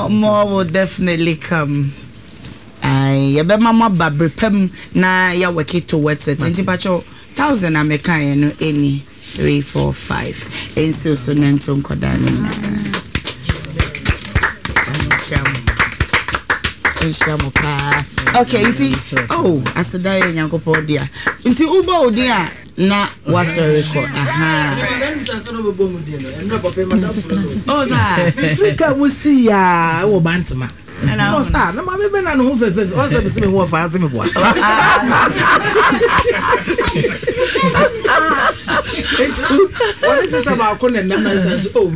More will definitely come. Yɛbɛma mo aba bere pa mu na yɛawɔke towards it. Nti pakyɛw 1,000 a mekaeɛ no ɛni 3 4 5 ɛnsiw so na nto nkɔdaa no nyinaa. Nhyira mo. Nhyira mo paa. Okay, nti oh aseda yɛ Nyankopɔn dea. Nti wobɔ wo din a na wasɔre kɔ. Aha. Oh, saa. Mefiri kaa mu sii yaa wɔ Bantama. Ɛna Ɔsɛ na maame bɛ na ne ho fɛfɛɛfɛ ɔsɛ mi sɛ mi ho ɔfa ase mi boa. Eti wɔne sista baako na nam na sɛ so oh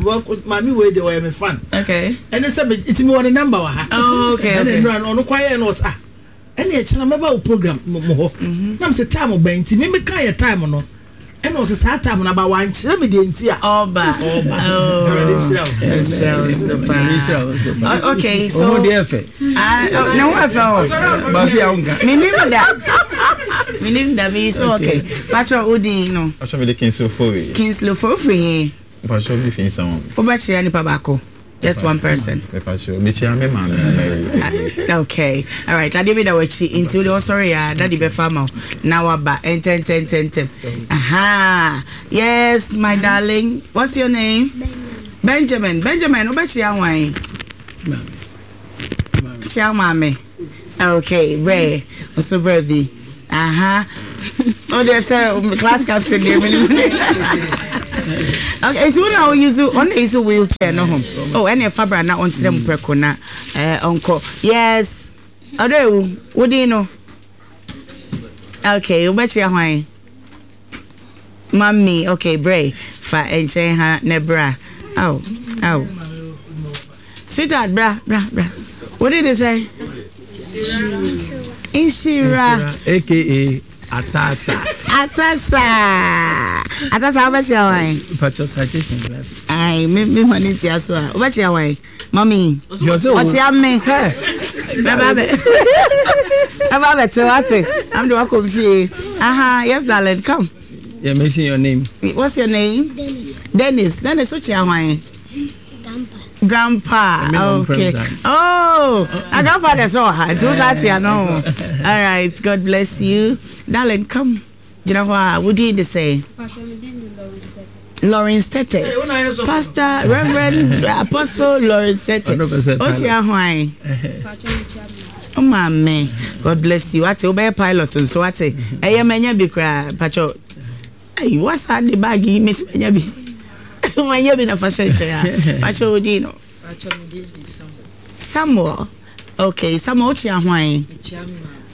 maame wei de ɔyɛ mi fan. Okay. Ɛne sɛ mi eti mi wɔ ne number wɔ ha. Oh, okay. Ɛna nnura no ɔno kwan yɛ no ɔsɛ ah ɛne ɛkyɛn mɛba wo program mo hɔ. Na mi sɛ time bɛn nti mi mi ka yɛ time no. Ɛna ɔsɛ saa time no aba wankyerɛ me deɛ nti a ɔba ɔba. Awurade nhyira wo. Nhyira wo so paa. Okay, so ɔmo deɛ fɛ. Ah, oh, na wo fɛ o. Baasi a wonka. Minim da. Minim da mi so okay. Patro odin no. Patro mi de Kingsley Ofori. Kingsley Ofori ofiri he? Patro mi fi Nsawam. Wobɛkyerɛ nipa baako. Just one person. Patro mekyia me maame Mary. Okay. All right. Adeɛ bi da w'akyi nti wode ɔsɔre ya daddy bɛfa ama wo na waba ntɛntɛntɛntɛm. Aha. Yes, my darling. What's your name? Benjamin. Benjamin, wobɛkyia hwan? Kyia maame. Okay, brɛ. Nso brɛ bi. Aha. O deɛ sɛ class captain deɛ menim. Okay, nti wo na wo use ɔno na use wheelchair no ho. Oh, ɛna ɛfa bra na ɔntena mu prɛko na ɔnkɔ. Yes. Ɔdɔ ewu, wo din no? Okay, wobɛkyia hwan? Mummy, okay, brɛ fa nkyɛn ha na bra. Aw, aw. Sweetheart, bra, bra, bra. Wo din de sɛn? Nhyira. AKA Atasa. Atasa. Atasa, wobɛkyia hwan? Pacho citation class. Ai, me ma ne ntia so a. Wobɛkyia hwan? Mummy. Ɔkyia me. Bɛba bɛ. Bɛba bɛte wate. I'm the one come fie. Aha, yes darling, come. Yeah, mention your name. What's your name? Dennis. Dennis. Dennis, wokyia hwan? Grandpa. Grandpa. Okay. Oh, a grandpa that's all. Nti wo saa kyia no. All right. God bless you. Darling, come. Gyina hɔ a wodin de sɛ? Lawrence Tete. Pastor, Reverend, Apostle Lawrence Tete. Okyia hwan? O maame. God bless you. Ate wobɛyɛ pilot nso ate. Ɛyɛ manya bi koraa. Pacho. Ayi wasa de bag yi mesi manya bi. Manya bi na fa hyɛ nkyɛn a. Pacho wodin no? Samuel. Okay, Samuel wokyia hwan?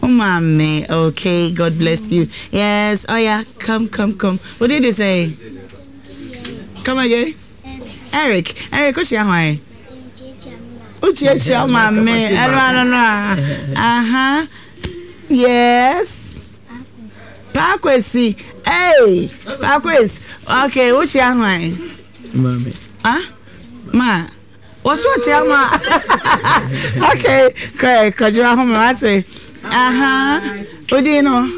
O maame. Okay, God bless you. Yes, oh yeah, come, come, come. What did they say? Come again? Eric. Eric, wokyia hwan? Wokyia maame. Ɛno ano no a. Aha. Yes. Paakwesi. Hey, Paakwesi. Okay, wokyia hwan? Maame. Ah? Ma. Wɔso ɔkyia ma. Okay, kɔ kɔdwo ahome wate. Aha. Odin no?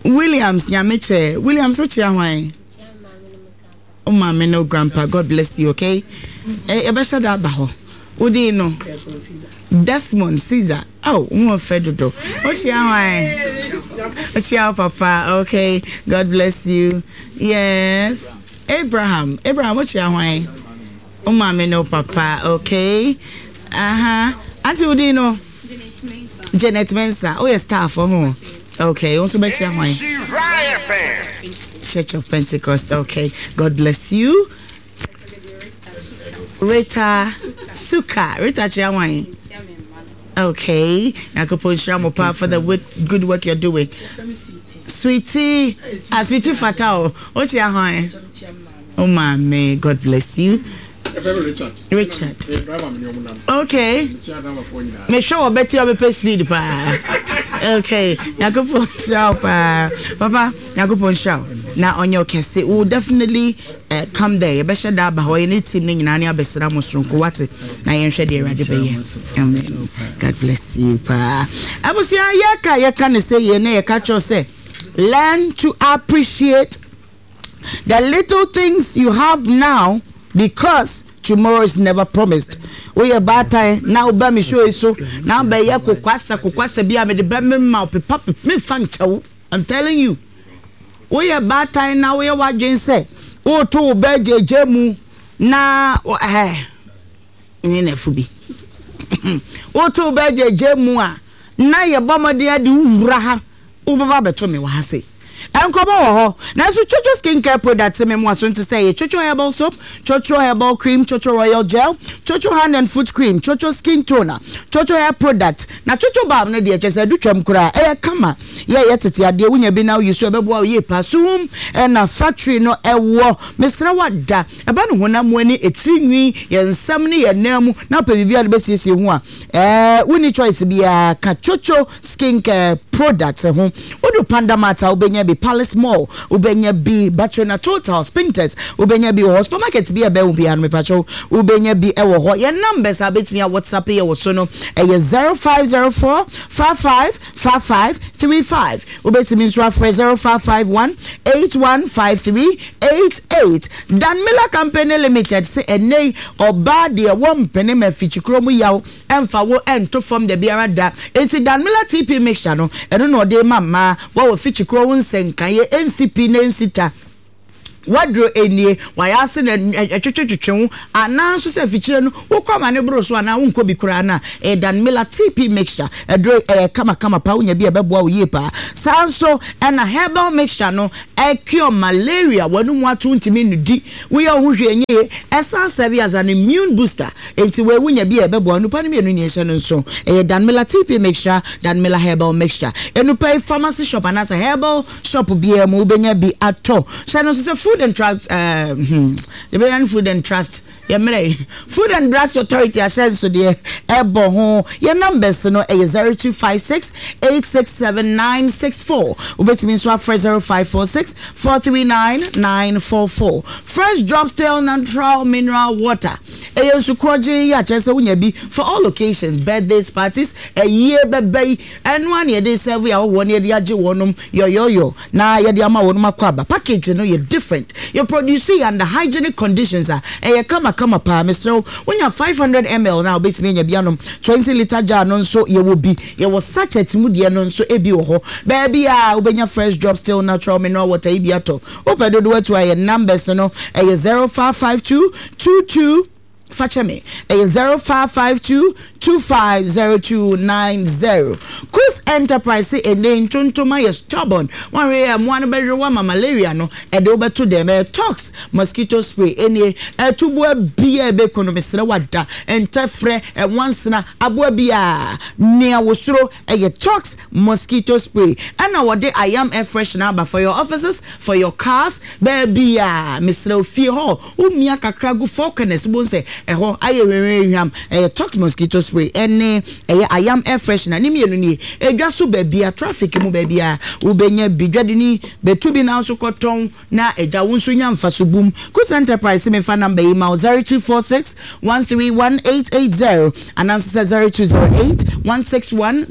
Williams Nyamekyɛ. Williams wokyia hwan? O maame no grandpa. God bless you, okay? Eh, yɛbɛhyɛ da aba hɔ. Wodin no? Desmond Caesar. Oh, wo ho fɛ dodo. Wokyia hwan? Wokyia wo papa. Okay. God bless you. Yes. Abraham. Abraham, wokyia hwan? O maame no papa. Okay. Aha. Auntie wodin no? Janet Mensah. Woyɛ staff ho. Okay. Wo nso bɛkyia hwan? Church of Pentecost. Okay. God bless you. Rita Suka. Rita Chiawan. Okay. Nyankopɔn nhyira mo paa for the work, good work you're doing. Sweetie. Ah, sweetie fata o. O chia hwan? Oh maame, God bless you. Richard. Richard. Okay. Mehwɛ wɔ bɛti a bɛpɛ speed paa. Okay. Nyankopɔn nhyira wo paa. Papa, Nyankopɔn nhyira wo. Na ɔnyɛ wo kɛse. We will definitely uh, come there. Yɛbɛhyɛ da aba hɔ. Yɛne team no nyinaa ne abɛsra mo soronko wate. Na yɛnhwɛ deɛ Awurade bɛyɛ. Amen. God bless you paa. Abusua yɛka yɛka ne sɛ yɛ na yɛka kyerɛ sɛ learn to appreciate the little things you have now because tomorrow is never promised. Woyɛ baatan na woba me show yi so na wobɛyɛ kokwasa kokwasa bi a mede bɛmema wo pepa memfa nkyɛ wo. I'm telling you. Woyɛ baatan na woyɛ w'adwene sɛ woreto wo ba agyagya mu na ɛɛ ne nafo bi. Woto wo ba agyagya mu a na yɛbɔ mmɔden ade wo wura ha wobɛba abɛto me wɔ ha sei. Nkɔmmɔ wɔ hɔ. Nanso Chocho Skin Care Products me mmoa so nte sɛ ɛyɛ Chocho Herbal Soap, Chocho Herbal Cream, Chocho Royal Gel, Chocho Hand and Foot Cream, Chocho Skin Toner, Chocho Hair Product, na Chocho Balm no deɛ kyerɛ sɛ adu twam koraa. Ɛyɛ kama. Yɛ ɛyɛ tete adeɛ wonya bi na woyi so ɛbɛboa wo yie paa. Suhum na factory no ɛwɔ. Mesrɛ wo ada. Ɛba no honam mu ani, etiri nwi, yɛn nsam ne yɛn nan mu na wopɛ biribi a wode bɛsiesie ho a, ɛɛ wonni choice biara ka Chocho Skincare Products ho. Wodu Panda Mart a wobɛnya bi, Palace Mall wobɛnya bi, Batrona Total, Spintex wobɛnya bi wɔ hɔ, supermarket bi a ɛbɛn wo biara no mepakyɛw wobɛnya bi wɔ hɔ. Yɛn numbers a wobɛtumi a WhatsApp yɛ wɔ so no ɛyɛ 0504 55 55 35. Wobɛtumi nso afrɛ 0551 8153 88. Dan Miller Company Limited se ɛnnɛ yi ɔbaa deɛ wɔmpene ma afikyikuro mu yaw mfa wo nto fam dabiara da. Enti Dan Miller TP Mixture no, ɛno na ɔde rema mmaa wɔ afikyikuro ho nsɛnkaeɛ, ɛnsi pi na ɛnsi ta. W'aduro nie, w'ayɛ ase na ɛtwetwetwetwe wo anaa nso sɛ afikyire no wokɔ ama no boro so anaa wonkɔ bi koraa no a, ɛyɛ Dan Miller TP Mixture. Aduro yi ɛyɛ kamakama paa, wonya bi a ɛbɛboa wo yie paa. Saa nso ɛna herbal mixture no cure malaria, w'anum ato wontumi nnidi, woyɛ wo ho hwee ɛnyɛ yie, ɛsan serve as an immune booster. Enti wei wonya bi a ɛbɛboa wo. Nnupa no mmienu nie hyɛ no nso, ɛyɛ Dan Miller TP Mixture, Dan Miller Herbal Mixture. Nnupa yi pharmacy shop anaasɛ herbal Shop biara mu wobɛnya bi atɔ. Hyɛ no nso sɛ Food and Drugs eh, hmm, Liberian Food and Trust, yɛ mmerɛ yi. Food and Drugs Authority ahyɛnsodeɛ ɛbɔ ho. Yɛ numbers no ɛyɛ 0256 867 964. Wobɛtumi nso afrɛ 0546 439 944. Fresh Drop Still Natural Mineral Water. Ɛyɛ nsu korɔgyenn yi a kyerɛ sɛ wonya bi for all occasions, birthdays, parties, ayie bɛba yi. Ɛno ara na yɛde resɛɛvo yɛn ahɔhoɔ na yɛde agye wɔnom yɔyɔyɔ na yɛde ama wɔnom akwaaba. Package no yɛ different. Yɛ produce yɛ under hygienic conditions a ɛyɛ kama kama paa. Mesrɛ wo, wonya 500 ml no a wobɛtumi anya bi anom. 20 litre jar no nso yɛwɔ bi. Yɛwɔ sachet mu deɛ no nso bi wɔ hɔ. Baabi a wobɛnya Fresh Drop Still Natural Mineral Water yi bi atɔ. Wopɛ dodoɔ atu a yɛn numbers no ɛyɛ 0552 22 Fa kyɛ me. Ɛyɛ 0552 250290. Kus Enterprise se ɛnnɛ yi ntontom ayɛ stubborn. Woanhwɛ yie a mmoa no bɛwe wo ama malaria no ɛde wo bɛto dɛm. Ɛyɛ Tox mosquito spray. Ɛnie, atuboa biara a ɛbɛku no mesrɛ wo ada, ntɛfrɛ, nwansena, aboa biara, nea wosuro ɛyɛ Tox mosquito spray. Ɛna wɔde Ayam air freshener aba for your offices, for your cars, baabiara. Mesrɛ wo fie hɔ Wo mia kakra gu four corners wobɛhu sɛ ɛhɔ ayɛ hwehwɛhwam. Ɛyɛ Tox mosquito spray ɛne ɛyɛ Ayam air freshener ne mmienu nie. Edwa so baabia, traffic mu baabia wobɛnya bi. Dwadini bɛtu bi na wo nso kɔtɔn na agya wo nso nya mfaso bum. Kusa Enterprise se memfa number yi ma wo 0246 131 880 anaa nso sɛ 0208 161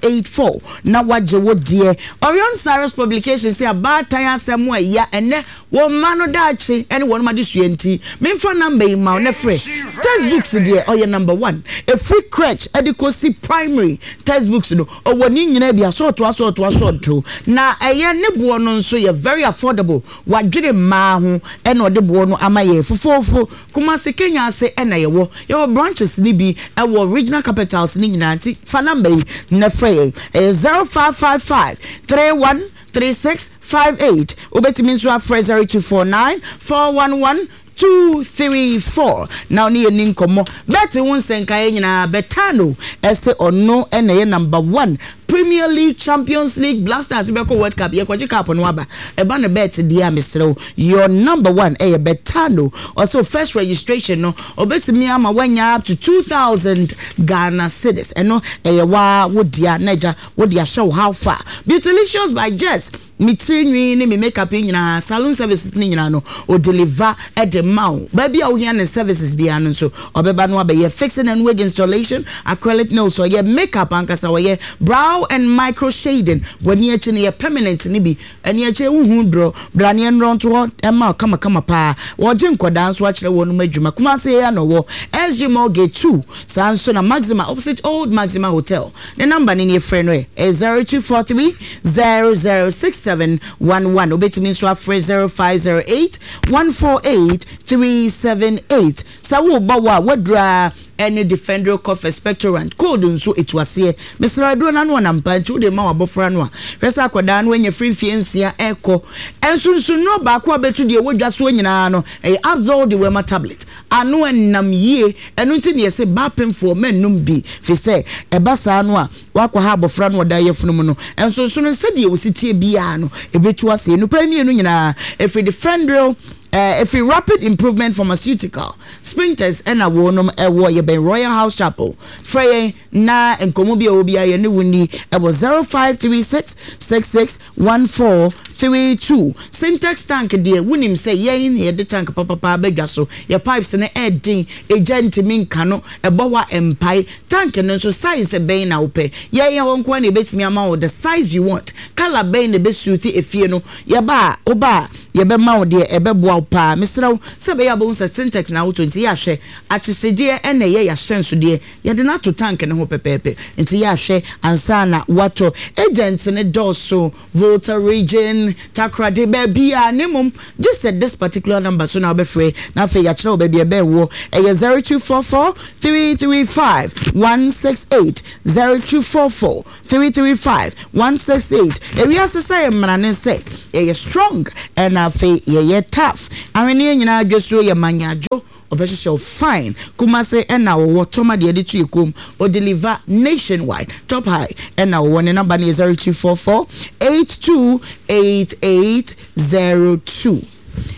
084 na woagye wo deɛ. Orion Cyrus Publication se abaatan asɛm a ɛya ɛnnɛ Wɔn mma no daakye ne wɔnom adesua nti, memfa number yi mma wo na frɛ. Textbooks deɛ ɔyɛ number one. Ɛfiri crèche de kɔsi primary, textbooks no ɔwɔ ne nyinaa bi, asɔɔto asɔɔto asɔɔto. Na ɛyɛ ne boɔ no nso yɛ very affordable. Wadwene mmaa ho na ɔde boɔ no ama yɛn fofoofo. Kumasi, Kenya ase na yɛwɔ. Yɛwɔ branches no bi wɔ regional capitals no nyinaa nti fa number yi na frɛ yɛn. Ɛyɛ 0555 31. 36 58. Wobɛtumi nso afrɛ 0249 411 234 na ɔne yɛn ni nkɔmmɔ. Bet ho nsɛnkaeɛ nyinaa, Betano ɛse ɔno na ɛyɛ number one. Premier League, Champions League, Blasters bɛkɔ World Cup, yɛkɔgye cup no aba. Ɛba no bet deɛ a mesrɛ wo, your number one ɛyɛ Betano. Ɔse wo first registration no, ɔbɛtumi ama woanya up to 2000 Ghana cedis. Ɛno ɛyɛ waa wo dea na agya wode ahyɛ wo how far. Beautylicious by Jess. Me tiri nwi ne me makeup yi nyinaa, saloon services no nyinaa no, o deliver de ma wo. Baabi a wohia ne services biara no nso, ɔbɛba no abɛyɛ fixing and wig installation, acrylic nails, ɔyɛ makeup ankasa, ɔyɛ brow and micro shading. W'ani akyi no yɛ permanent no bi. Ani akyi wohu duro, bra ne ɛnrɔ nto hɔ mma wo kamakama paa. Wɔgye nkwadaa nso akyerɛ wɔnom adwuma. Kumasi yi ara na ɔwɔ, SG Mall Gate 2, saa nso na Maxima opposite Old Maxima Hotel. Ne number no nie frɛ no ɛ, ɛyɛ 0243 006711. Wobɛtumi nso afrɛ 0508 148 378. Sɛ worebɔ wo a, woaduru ara ɛne Defendryl Cough Expectorant. Cold nso ɛtu aseɛ. Mesrɛ wo, aduro no ano ɔnam paa nti wode ma w'abɔfra no a, hwɛ sɛ akwadaa no anya firi mfeɛ nsia rekɔ. Nsunsonnuro baako a wobɛtu deɛ ɛwɔ dwa soɔ nyinaa no, ɛyɛ Abzol Dewormer Tablet. Ano nnam yie, ɛno nti na yɛse ba apemfoɔ mɛnnom bi, firi sɛ ɛba saa no a, woakɔha abɔfra no a ɔda yafunu mu no. Nsonsono no, sɛdeɛ ɔsi teɛ biara no, ɛbɛtu aseɛ. Nnipa yi mmienu nyinaa, ɛfiri Defendryl, ɛfiri Rapid Improvement Pharmaceutical, Spintex ɛna wɔnom ɛwɔ, yɛbɛn Royal House Chapel. Frɛ yɛn na nkɔmmɔ bi a ɛwɔ biara yɛne wo nni ɛwɔ 0536 66 1432 Sintex tank deɛ wonim sɛ yɛn na yɛde tank papapa aba dwa so. Yɛ pipes no ɛden, egya ntumi nka no, ɛbɔ hɔ a ɛmpae. Tank no nso size bɛn na wopɛ? Yɛn yɛn hɔ nko ara na yɛbɛtumi ama wo the size you want. Colour bɛn na ɛbɛ suit efie no? Yɛba a, woba a yɛbɛma wo deɛ ɛbɛboa wo paa. Mesrɛ wo sɛ ɛbɛyɛ a wobɛhu sɛ Sintex na wotɔ nti yɛ a hwɛ akyekyedeɛ na ɛyɛ yɛahyɛnsodeɛ. Yɛde no ato tank no ho pɛpɛɛpɛ nti yɛ ahwɛ ansa na woatɔ. Agents no dɔɔso, Volta region, Takoradi, baabiara na mmom gye sɛ this particular number so na wobɛfrɛ na afei yɛakyerɛ wo baabi a ɛbɛn woɔ. Ɛyɛ 0244 335 168, 0244 335 168. Ewiase sɛ yɛ mmara ne sɛ yɛyɛ strong ɛna afei yɛyɛ tough. Ahweneɛ nyinaa dwasuo yɛ manyadwo. Ɔbɛhyehyɛ wo fine. Kumase ɛna ɔwɔ tɔma deɛ yɛde to yɛ kɔn mu. Ɔ deliver nationwide. Top high ɛna ɔwɔ. Ne number no yɛ 0244 82 8802.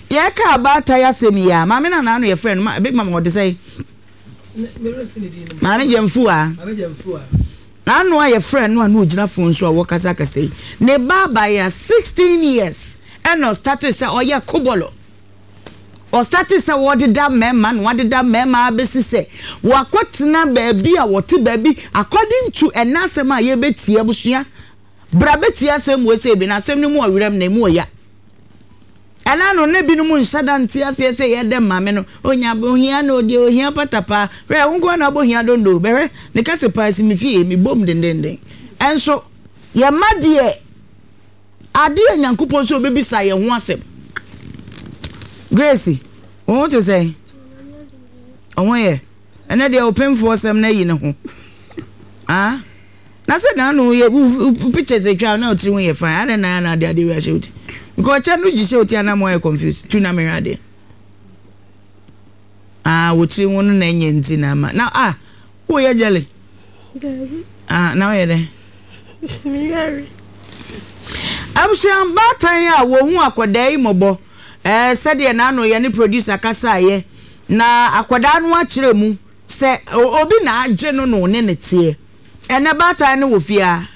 Yɛka abaatan asɛm yi a, maame no a n'ano yɛ frɛ no, ma, big mama ɔde sɛn? Maame Gyamfuaa. N'ano a yɛfrɛ no a na ɔgyina phone so a wɔkasa kasa yi, ne ba abaayewa 16 years ɛna ɔstartee sɛ ɔyɛ kobɔlɔ. Ɔstartee sɛ wɔdeda mmarima na wɔadeda mmarima ara bɛsi sɛ wɔakɔtena baabi a wɔte baabi according to ɛnnɛ asɛm a yɛbɛtie abusua bra bɛtie asɛm wei sɛ bi na asɛm no mu ɔwerɛm na ɛmu ɔya ɛna no na binom nhyɛ da nte aseɛ sɛ yɛdɛ maame no onya ohia na ɔdeɛ ohia patapaa hwɛ wo nkoa na abɔ hia dondo bɛhwɛ ne kɛse paa si me fie mebom dendenden ɛnso yɛma deɛ Ade a Nyankopɔn sɛ obebisa yɛn ho asɛm. Grace, wo ho te sɛn? Wo ho yɛ? Ɛnɛ deɛ ɔpemfoɔ sɛm no ayi ne ho. Ah? Na sɛ na ano yɛ wo pictures atwa na ɔtiri ho yɛ fine. Adɛn na na ade ade wi ahyɛ wo ti? Because ɔkyɛ no gye hyɛ wo ti anam ayɛ confused. Tu na mehwɛ adeɛ. Ah, wo tiri ho no na ɛnyɛ nti na ama. Na ah, Woyɛ jelly? Dabi. Ah, na woyɛ dɛn? Meyare. Abusua baatan a wɔhu akwadaa yi mmɔbɔ eh, sɛdeɛ n'ano yɛ ne producer kasaeɛ na akwadaa no akyerɛ mu sɛ obi na agye no na ɔne no teɛ. Ɛnɛ baatan no wɔ fie a,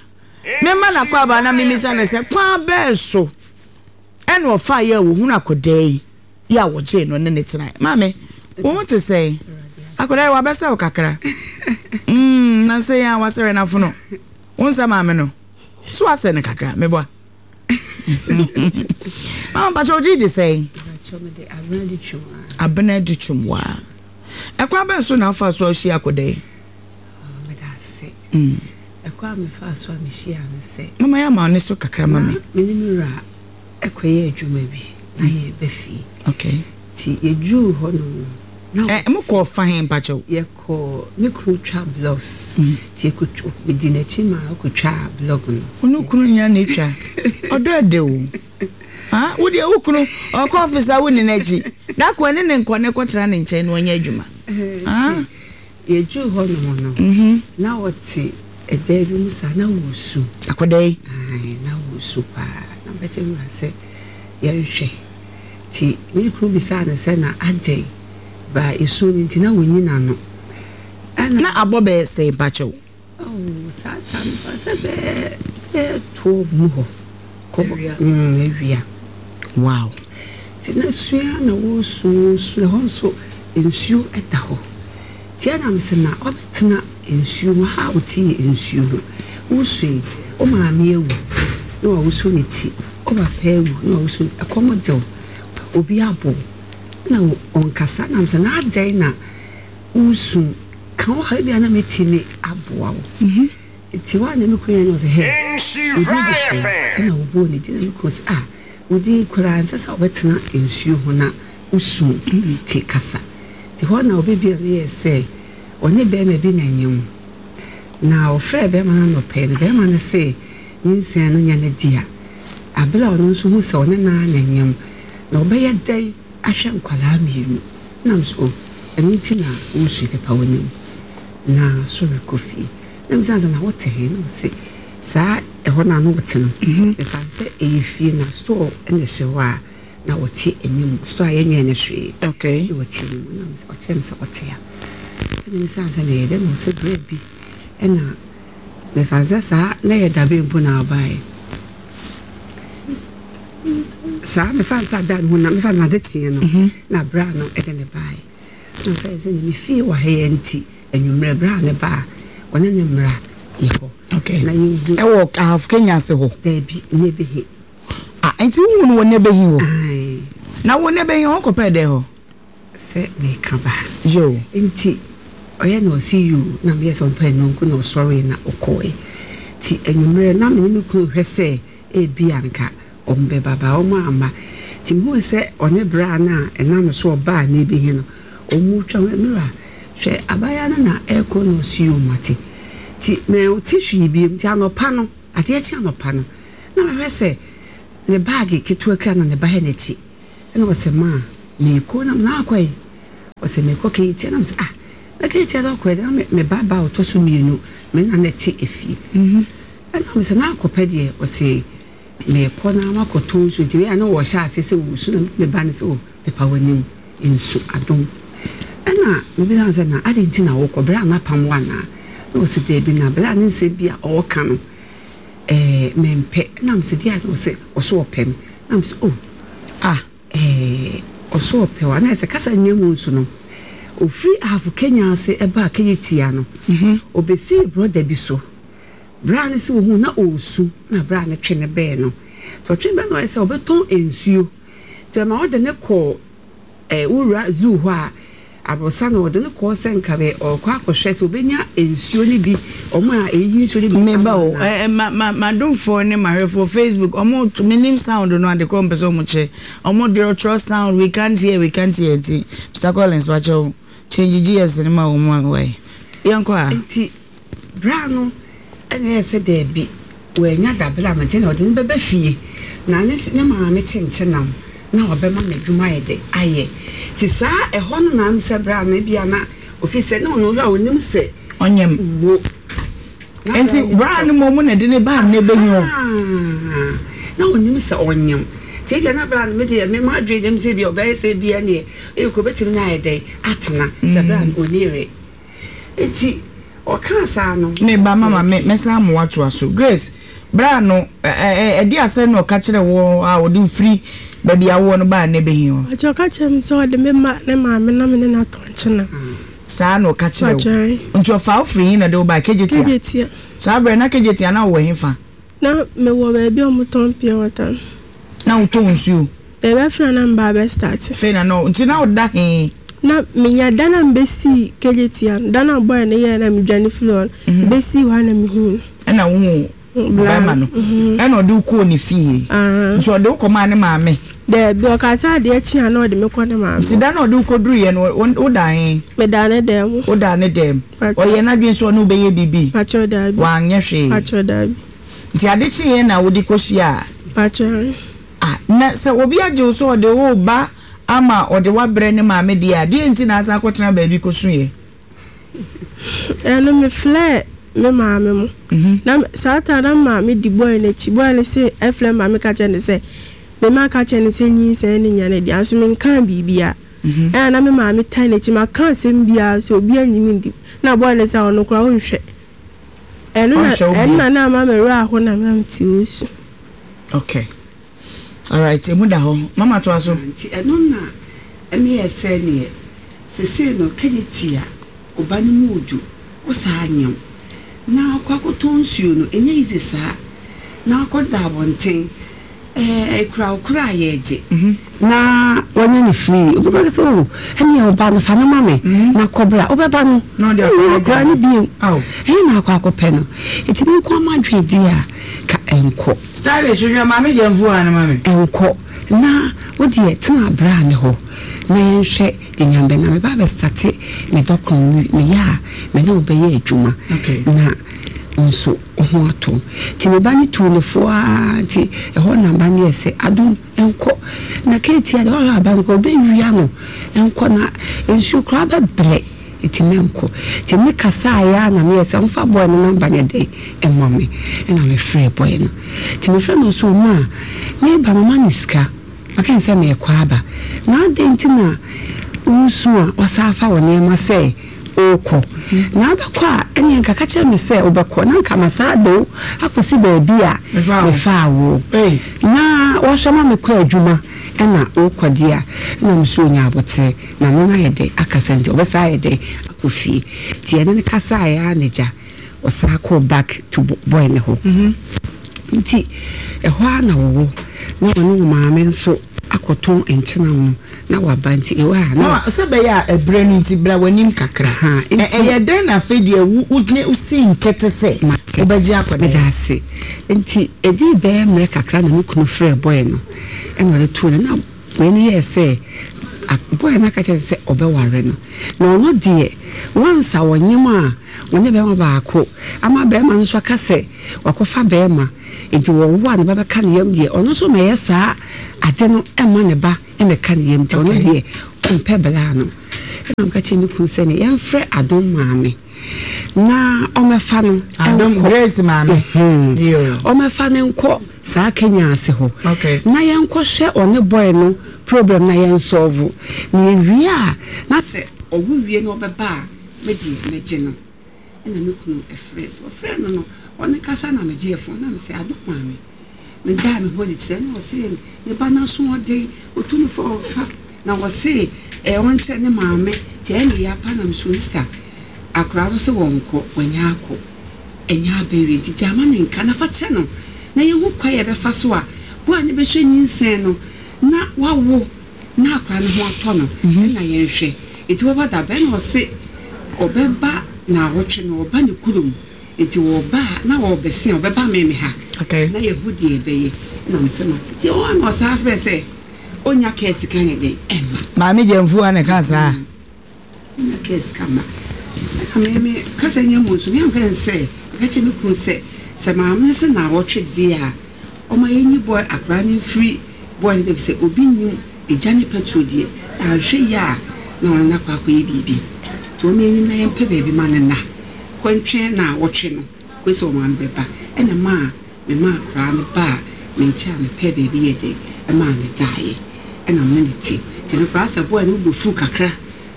memma n'akwaaba na memisa no sɛ kwan bɛn so ɛna ɔfaeɛ a wɔhunu akwadaa yi. Yi a wɔgyee no ne no tenae. Maame, wo ho te sɛn? Akwadaa yi, wabɛsɛ wo kakra. Mm, nansa yi a wasɛre n'afono. Wo nsɛ maame no? So wasɛ no kakra, meboa. Mama, mpakyɛ wo din de sɛn? Abena di twom waa. Ɛkwan bɛn so na afa so a wohyia akwadaa yi? Meda ase. Ɛkwan a mefaa so a mehyia no sɛ. Mama yɛ ama ne so kakra ma me. Me ne me wura kɔyɛɛ adwuma bi na yɛreba fie. Okay. Nti yɛduruu hɔnom no, Na Ɛ, mokɔɔ fa he mpakyɛw? Yɛkɔɔ, me kunu twa blocks, nti yɛkɔtwa, medi n'akyi ma ɔkɔtwaa block no. Wo ne wo kunu nyinaa na etwa? Ɔdɔ ɛdɛ o. Ah, wo deɛ wo kunu ɔkɔ office a wonni n'akyi. Da ko ɛne ne nkɔ ne kɔtena ne nkyɛn na ɔnyɛ adwuma. Ah. Yɛduruu hɔnom no, na ɔte ɛdan bi mu saa, na ɔresu. Akwadaa yi? Ae, na ɔresu paa. Na mebɛkyerɛ me wura sɛ yɛnhwɛ. Nti me kunu bisaa no sɛ, na adɛn? Baa esu no nti na ɔnyi n'ano. Ɛna. Na abɔ bɛyɛ sɛn mpakyɛw? Oh, saa time no paa sɛ bɛyɛ bɛyɛ 12 mu hɔ. Kɔ Awia. Mm, awia. Wow. Nti na sua na wɔresu, wɔresu, ɛhɔ nso nsuo da hɔ. Nti ɛna mese na wabɛtena nsuo mu, ha a wote yɛ nsuo ho. Wosu yi, wo maame awu na wawoso ne ti, wo papa awu na wawoso ne ti, ɛkɔm de wo, obi abɔ wo na ɔnkasa. Na mese na adɛn na woresu, ka wo haw, ebia na mɛtumi aboa wo. Nti hɔ a na me kunu yɛ na ɔse hɛ, wo din de sɛn? Ɛna ɔbɔɔ ne din na me kunu se ah, wo din koraa ɛnsɛ sɛ wobɛtena nsuo ho na wosu nti kasa. Nti hɔ na ɔbɛbia no yɛɛ sɛ ɔne bɛɛma bi na nyem. Na ɔfrɛɛ bɛɛma no anɔpa yi no bɛɛma no se nyinsɛn no nyɛ ne dea. Abere a ɔno nso hu sɛ ɔne no ara na nyem na ɔbɛyɛ dɛn ahwɛ nkwadaa mmienu. Ɛna me se oh ɛno nti na wosu yi pepa w'anim na sɔre kɔ fie. Na mebisa no sɛ, Na wote he? Na ɔse, Saa ɛhɔ no a na ɔte no, mefa no sɛ ɛyɛ fie na store na ɛhyɛ hɔ a na ɔte anim, store a yɛnyɛɛ no hwee, na ɔte anim. Na ɔkyerɛ me sɛ ɔte ha. Ɛna mebisa no sɛ, Na ɛyɛ dɛn? Na ɔse, Berɛ bi ɛna mefa no sɛ saa na ɛyɛ dabɛn mpo na ɔbaeɛ. Saa mefa no sɛ ada no ho na mefa no ade kyeeɛ no na berɛ a no ɛde ne baeɛ. Na ɔka kyerɛ sɛ ne fie wɔ ha yi nti anwummerɛ berɛ a ne ba a ɔne ne mmra yɛ hɔ. Okay. Na yɛnhu. Ɛwɔ Ahafo Kenya ase hɔ? Daabi, Nebehe. Ah, nti wohu no wɔ Nebehe hɔ? Ae. Na wo Nebehe hɔ kɔpɛɛ dɛn hɔ? Sɛ meka ba. Yoo. Nti ɔyɛ na ɔse yoo na meyɛ sɛ ɔmpɛ nnɔnko na ɔsɔree na ɔkɔɔe. Nti anwummerɛ na me ne me kunu hwɛ sɛ ebia nka Wɔbɛba, but wɔamma. Nti mehuu sɛ ɔne braa no a ɛnam no so ɔbaa Nebi he no, wɔretwa ho. Me wura, hwɛ, abaayewa no na ɛrekɔ na ɔse yoo mate. Nti mante hwee bio. Nti anɔpa no, adeɛ kye anɔpa no, na mehwɛ sɛ ne baage ketewa kura na ne ba hɛ n'akyi. Ɛna ɔse maa, meekɔ. Na me akɔ he? Ɔse meekɔ Ketia. Na mese ah, na Ketia deɛ ɔkɔ he deɛ, na me ba baa ɔtɔ so mmienu, me na na ɛte efie. Ɛna mese na akɔpɛ deɛ? Ɔse Merekɔ na makɔtɔ nsu nti wei a na wɔhyɛ aseɛ sɛ wɔresu na me ba no sɛ oh pepa w'anim nsu adom ɛna mebisa no sɛ na adɛn nti na wokɔ berɛ a mapam wo anaa na ɔsɛ daabi na berɛ a ne nsɛm bi a ɔreka no ɛɛ mempɛ na mesɛ deɛ a ɔsɛ ɔsɛ ɔpɛ me na mesɛ oh ah ɛɛ ɔsɛ ɔpɛ wa na ɛsɛ kasa nyɛ mu nso no ofiri ahafo Kenya ase ɛbaa Kenya tia no ɔbɛsii brɔda bi so. Bra no sɛ ohuu na ɔresu na bra no twe no bɛɛ no. Nti ɔtwe bɛɛ no ɔyɛ sɛ ɔbɛtɔn nsuo. Nti ɛma ɔde no kɔɔ eh, wura zoo hɔ a aborosa no ɔde no kɔɔ sɛ nka bɛ ɔrekɔ akɔhwɛ sɛ ɔbɛnya nsuo no bi, ɔmo a ɛyiyi nsuo no bi Meba ama o, no a. eh, ma, ma, m'adomfoɔ ne m'ahwɛfoɔ Facebook, ɔmo, menim sound no ade korɔ ɔmo pɛ sɛ ɔmo kyerɛ. Ɔmo deɛ ɔtwerɛ sound, we can't hear, we can't hear nti, Mister Collins, pakyɛw, change GS no ma wɔn ma me wai. Yɛnkɔ a. Nti Bra no na ɛyɛɛ sɛ daabi, wannya dabere a mente na ɔde no bɛba fie na ne ne maame kyenkyenam na ɔbɛma no adwuma ayɛ dɛ ayɛ. Nti saa ɛhɔ no na sɛ bra no ebia na ofi sɛ na ɔno a onim sɛ Ɔnyem. Wo. Na bra Nti nim bra sɛ no mmom na ɛde ne baa ne bɛhi hɔ. Ah, na onim sɛ ɔnyem. Nti ebia na bra no me deɛ me m'adwene dem sɛ ebia ɔbɛyɛ sɛ ebia neɛ ebi kɔ obetumi ne ayɛ dɛn atena sɛ bra no onni yere. Enti ɔkaa saa no. Me ba mama me mɛsan ama woatoa so. Grace, berɛ a no ɛ ɛ ɛde asɛm na ɔka kyerɛɛ wo a ɔde wo firi baabi a wowɔ no baa nnɛ bɛhi hɔ? Mpakyɛ ɔka kyerɛɛ me sɛ ɔde me ma ne maame na me ne no atɔ nkyena. Saa na ɔka kyerɛɛ wo? Mpakyɛ. Nti ɔfaa wo firi he na ɔde wo baa Kejetia? Kejetia. Saa berɛ no na Kejetia na wowɔ he fa? Na mewɔ baabi a wɔtɔn pure water no. Na wotɔn nsuo? Daabi afei na na meba abɛ start. Afei na na nti na woda he? Na menya da na mebɛsii Kejetia no, da no a boy no yɛɛ na medwane firi hɔ no, mebɛsii hɔ a na mehuu no. Ɛna wohuu? Ɔbarima no ɛna ɔde wo kɔɔ ne fie. Nti ɔde wo kɔmaa ne maame? Daabi, ɔkaa sɛ adeɛ kye a na ɔde me kɔ ne maame hɔ. Nti da no a ɔde wo kɔduruiɛ no, wodaa he? Medaa ne dan mu. Wodaa ne dan mu. Ɔyɛɛ n'adwene sɛ ɔne wo bɛyɛ biribi? Pakyɛw, daabi. Wanyɛ hwee? Pakyɛw, daabi. Nti ade kyeeɛ na wode kɔhyiaa? Pakyɛw. Ah, na sɛ obi agye wo sɛ ɔde wo reba ama ɔde wo abrɛ ne maame deɛ a, deɛn nti na asan akɔtena baabi kɔsuiɛ? Ɛno mefrɛɛ me maame mo. Na saa time na me maame di boy no akyi. Boy no se ɛfrɛ me maame ka kyerɛ no sɛ me ma ka kyerɛ no sɛ nyinsɛn no nyɛ ne dea nso menkaa biribiara. Ɛna na me maame taa n'akyi maka asɛm biara nso obiara nnye me ndi. Na boy no sɛ ɔno koraa ɔnhwɛ. Ɛno na ɛno na na ama me werɛ aho na na mete osu. Okay. Alright, emu da hɔ. Mama toa so. Nti ɛno na ɛmeyɛ sɛ neɛ sesei no kɛgye a oba no mu dwo wo saa nyew na akɔ akɔtɔn nsuo no ɛnyɛ easy saa na akɔ da abɔnten ɛɛ ekura wo koraa yɛgye na wanya no free obi bɛka sɛ oh ɛneɛ ɔba no fa no ma me na kɔ bra wobɛba no Na ɔde wonhu akɔyɛ akwadaa no aduane. bio Ao. ɛhe na akɔ akɔpɛ no nti me nko ara m'adwene deɛ a ka ɛnkɔ. Stylish hwehwɛ maame gyamfuu no ma me. Ɛnkɔ na wo deɛ tena bra no hɔ na yɛnhwɛ deɛ Nyame bɛ na meba abɛ starte me dɔkono no meyɛ a me ne wo bɛyɛ adwuma Okay. na wo nso wo ho atɔ wo nti me ba no tuu no fo ara nti ɛhɔ na ba no yɛ sɛ adom Nkɔ na keetia deɛ ɔhwɛ aba no koraa ɔbɛwia no nkɔ na nsuo koraa bɛbrɛ nti mɛnkɔ nti me kasaeɛ ara na meyɛ sɛ ɔmfa boy no number nyɛ dɛn ɛma me ɛna me frɛɛ boy no nti me frɛ no ɔsɛ ɔma a meba mama no sika maka no sɛ meekɔ aba na adɛn nti na wosu a wasan afa wo nneɛma sɛ Worekɔ. Na wobɛkɔ a, ɛnneɛ nka ka kyerɛ me sɛ wobɛkɔ, na nka masan de wo akɔsi baabi a mefaa woɔ. Na woahwɛ ma mekɔ adwuma na wokɔ deɛ a, ɛnna me nso ɔnya aboterɛ, na me no ayɛ dɛ akasa nti, ɔbɛsan ayɛ dɛ akɔ fie. Nti yɛne no kasaeɛ ara na agya, ɔsan kɔɔ back to boy no hɔ. Nti ɛhɔ ara na wɔwɔ, na ɔne wo maame nso akɔtɔn nkyenam no na waba nti ɛwɔ a na. Mama, sɛ ɛbɛyɛ a ɛberɛ no nti bra w'anim kakra. Ahaa, nti. Ɛyɛ dɛn na afei deɛ wo wo wosii nkete sɛ Mate. wobɛgye akwadaa yi? Meda ase. Nti ɛdii bɛyɛ mmerɛ kakra na me kunu frɛɛ boy no ɛna ɔde too no na wei no yɛɛ sɛ boy no aka kyerɛ no sɛ ɔbɛware no na ɔno deɛ once a ɔnyem a ɔne bɛrima baako ama bɛrima no nso aka sɛ wakɔfa bɛrima nti wɔwo a ne ba bɛka ne yam deɛ ɔno nso mɛyɛ saa ade no mma ne ba mmɛka ne yam nti ɔno deɛ ɔmpɛ bla no. Ɛna meka kyerɛ me kunu sɛ ne yɛmfrɛ Adom maame na ɔmɛfa no Adom nkɔ Grace maame. Ɔmɛfa no nkɔ saa Kenya ase hɔ okay. Na yɛnkɔhwɛ ɔne boy no problem na yɛnsɔlvo na yɛwie a na sɛ ɔwo wie na ɔbɛba a me deɛ mɛgye no. Ɛna me kunu frɛɛ no, ɔfrɛɛ no no, ɔne kasa na megyee fon na mesɛ Adom maame. Medaa me ho adi kyerɛɛ no na ɔse ne ba no asoɔden, ɔtu no fo a ɔmfa na ɔse ɛɛ ɔnkyerɛ ne maame nti ɛyɛ me ya paa na mesoo sister akwadaa no se wɔnkɔ, wanya akɔ, ɛnyɛ abɛwie nti gyaa ma no nka na fa kyɛ no na yɛhu kwan a yɛbɛfa so a boa no bɛhwɛ nyinsɛn no na wawo na akwadaa no ho atɔ no ɛna yɛnhwɛ nti wɔba da bɛn na ɔse ɔbɛba naawɔtwe no ɔba ne kurom nti wɔba a na ɔbɛse a ɔbɛba me me ha na yɛhu deɛ ɛbɛyɛ ɛna me sɛ mate nti ɔa na ɔsaa frɛ sɛ ɔnya kaa sika ne den ɛma Maame Gyamfua na ɛka saa. Ɔnya kaa sika ma ɛna me me kasa nyɛ mu nso me anka sɛ meka kyerɛ me kunu sɛ sɛ maame no sɛ naawɔtwe deɛ a Ɔma yɛnyi boy akwadaa no mfiri boy no baabi sɛ obi nnim egya ne petrol deɛ anhwɛ yie a na ɔne no akɔ akɔyɛ biribi nti ɔma yɛnyi na yɛmpɛ baabi ma no nna kɔntwɛn naawɔtwe no kɔsi sɛ ɔmaame bɛba ɛna ɛmaa memaa akwadaa no baa me nkyɛn a mepɛɛ baabi yɛ dɛ ɛmaa no daeɛ ɛna me ne no te nti no koraa sɛ boy no bo fuu kakra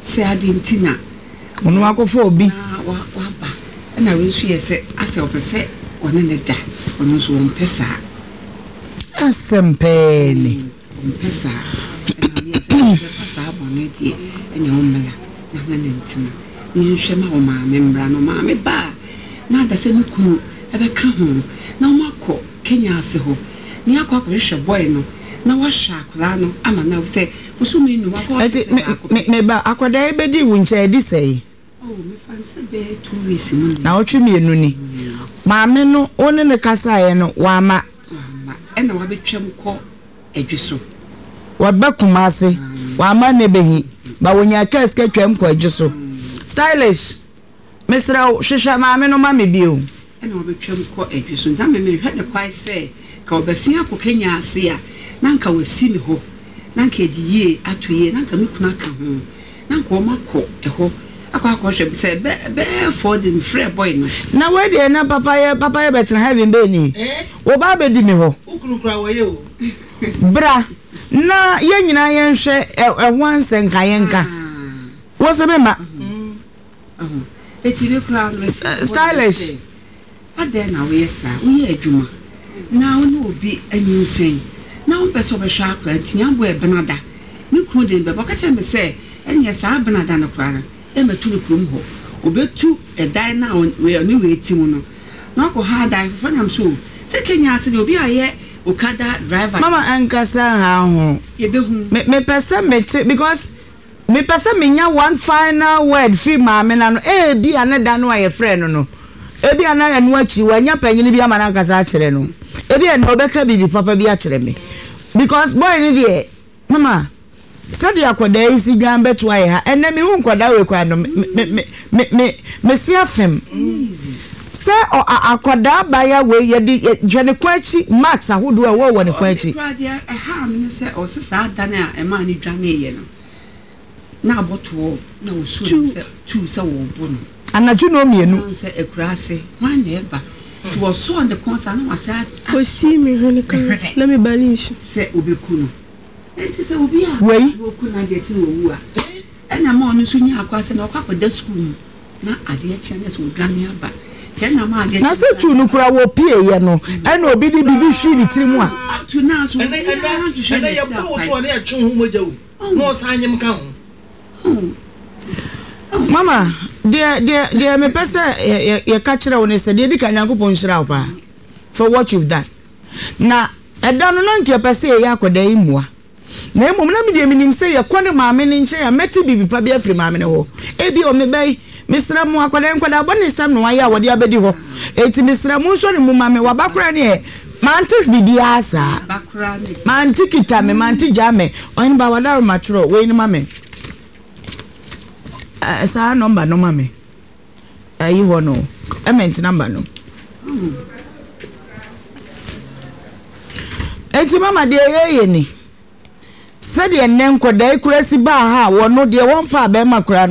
sɛ adeɛ nti na Ɔno akɔfa obi. Na waba. Ɛna wei nso yɛ sɛ asɛ ɔpɛ sɛ ɔne no da. Ɔno nso ɔmpɛ saa. Asɛm pɛɛ ni. Ɔmpɛ saa. Ɛna meyɛ sɛ ɔbɛfa saa bɔne deɛ ɛne ɔmmra na ne no ntena. Na yɛnhwɛ ma ɔmaame mmra. Na ɔmaame ba a, na ada sɛ ne kunu bɛka ho na wɔakɔ Kenya ase hɔ. Na yɛakɔ akɔhwehwɛ boy no na wahwɛ akwadaa no ama no ahu sɛ Bosome nnum akɔ Ɛnti ɔfese me baako me pɛ. me ba akwadaa yi bɛdii wo nkyɛn adi sɛn? Oh, mefa no sɛ bɛyɛ 2 weeks mu ni. Naawɔtwe mmienu ni. Maame no, wo ne no kasaeɛ no, wamma. Wamma. Ɛna wabɛtwam kɔ Adwi so. Waba Kumasi, wamma ne bɛhi, ba wɔnyaa kaa sika twam kɔ Adwi so. Stylish, mesrɛ wo, hwehwɛ maame no ma me bio. Ɛna wabɛtwam kɔ Adwi so. Nti na me mehwɛ no kwan sɛ, nka ɔbɛsen akɔ Kenya ase a, na anka wasi me hɔ, na anka yɛde yie ato yie, na anka me kunu aka ho. Na nka wɔn akɔ ɛhɔ akɔ akɔhwɛ sɛ bɛ bɛyɛ 4 days mefrɛ boy no. Na wei deɛ na papa yɛ papa yɛ bɛtena heaven bɛɛ ni wo ba abɛdi me hɔ. Wo kunu koraa wɔyɛ o. Bra na yɛn nyinaa yɛn hwɛ ɛho ansɛ nka yɛn nka wo se me ma. Eti me koraa no mefrɛ boy no Stylish. sɛ adɛn na woyɛ saa woyɛ adwuma na wo ne obi anyinsɛn na wompɛ sɛ wobɛhwɛ akwadaa nti nyamboa ɛbenada Me kunu de me bɛba. Ɔka kyerɛɛ me sɛ, Ɛnneɛ saa benada no koraa no, yɛmmɛto no kurom hɔ. Ɔbɛtu ɛdan no a ɔne wei te mu no, na wakɔha dan foforɔ. Nam so o, sɛ Kenya ase deɛ, obi a ɔyɛ Okada driver. Mama ɛnkasa nha ho. Yɛbɛhu. Me mepɛ sɛ mete because mepɛ sɛ menya one final word firi maame no ano. Ebia ne da no a yɛfrɛɛ no no, ebia na ɛno akyi wanya panyini bi ama no akasa akyerɛ no. Ebia ɛnnɛ ɔbɛka biribi papa bi akyerɛ me because boy no deɛ. Mama, sɛdeɛ akwadaa yi si dwan bɛtoa yɛ ha, ɛnnɛ mehu nkwadaa wei koraa no, me, me, me, me, me, mese afem. Sɛ ɔ, a, akwadaa abaayewa wei, yɛde, yɛ, hwɛ ne kɔn akyi, marks ahodoɔ a ɛwɔ wɔ ne kɔn akyi. Ɔno koraa deɛ ɛhaa me ne sɛ ɔse saa da no a ɛmaa no dwaneeɛ no, na abɔtoɔ na ɔsuo no sɛ tuu sɛ wɔrebɔ no. Anadwo nnɔnmienu. Ɔhu sɛ akuraase, hwan na ɛba? Nti wɔsɔɔ ne kɔn saa na wasan asɔ Ɔsii me hwene ne kan hwene na me ba no nsu. sɛ ɔbɛku no. Nti sɛ obi a Wei. wɔku no adeɛ kye na wawu a, ɛna ma ɔno nso nya akwan sɛ na ɔkɔ akɔda sukuu mu na adeɛ kye a na sɛ ɔdwane aba. Nti ɛna ma adeɛ Na kye sɛ tuu no koraa wɔpieeɛ no, ɛna obi de biribi hwii ne tiri mu a. Tu no a so Ɛnɛ ɛnɛ obiara nhwehwɛ ɛnɛ n'akyi yɛbɔ wo akwan. to a na yɛtwe wo ho mogya o na ɔsan nyem ka ho. Mama, deɛ deɛ deɛ mepɛ sɛ yɛka kyerɛ wo ne sɛ, deɛ ɛdi kan Nyankopɔn nhyira wo paa for what you've done. Na ɛda no na nka yɛpɛ sɛ yɛyɛ akwadaa yi mmoa. Na mmom na me deɛ menim sɛ yɛkɔ ne maame no nkyɛn a mɛte biribi pa bi afiri maame no hɔ. Ebia o me ba yi, mesrɛ mo akwadaa yi nkwadaa bɔnesɛm na wayɛ a wɔde abɛdi hɔ. Enti mesrɛ mo nsɔ ne mu ma me. Waba koraa neɛ mante biribiara saa. Mante kita me, mante gyaa me. Ɔhene ba wadaroma twerɛ wei no ma me. Eh, saa nɔmba no ma me. Ayi hɔ no, ɛmɛnti nɔmba no. Enti mama deɛ yɛyɛ ni. Sɛdeɛ nnɛ nkɔdaa yi koraa si baa ha a wɔno deɛ wɔmfaa bɛrima koraa no.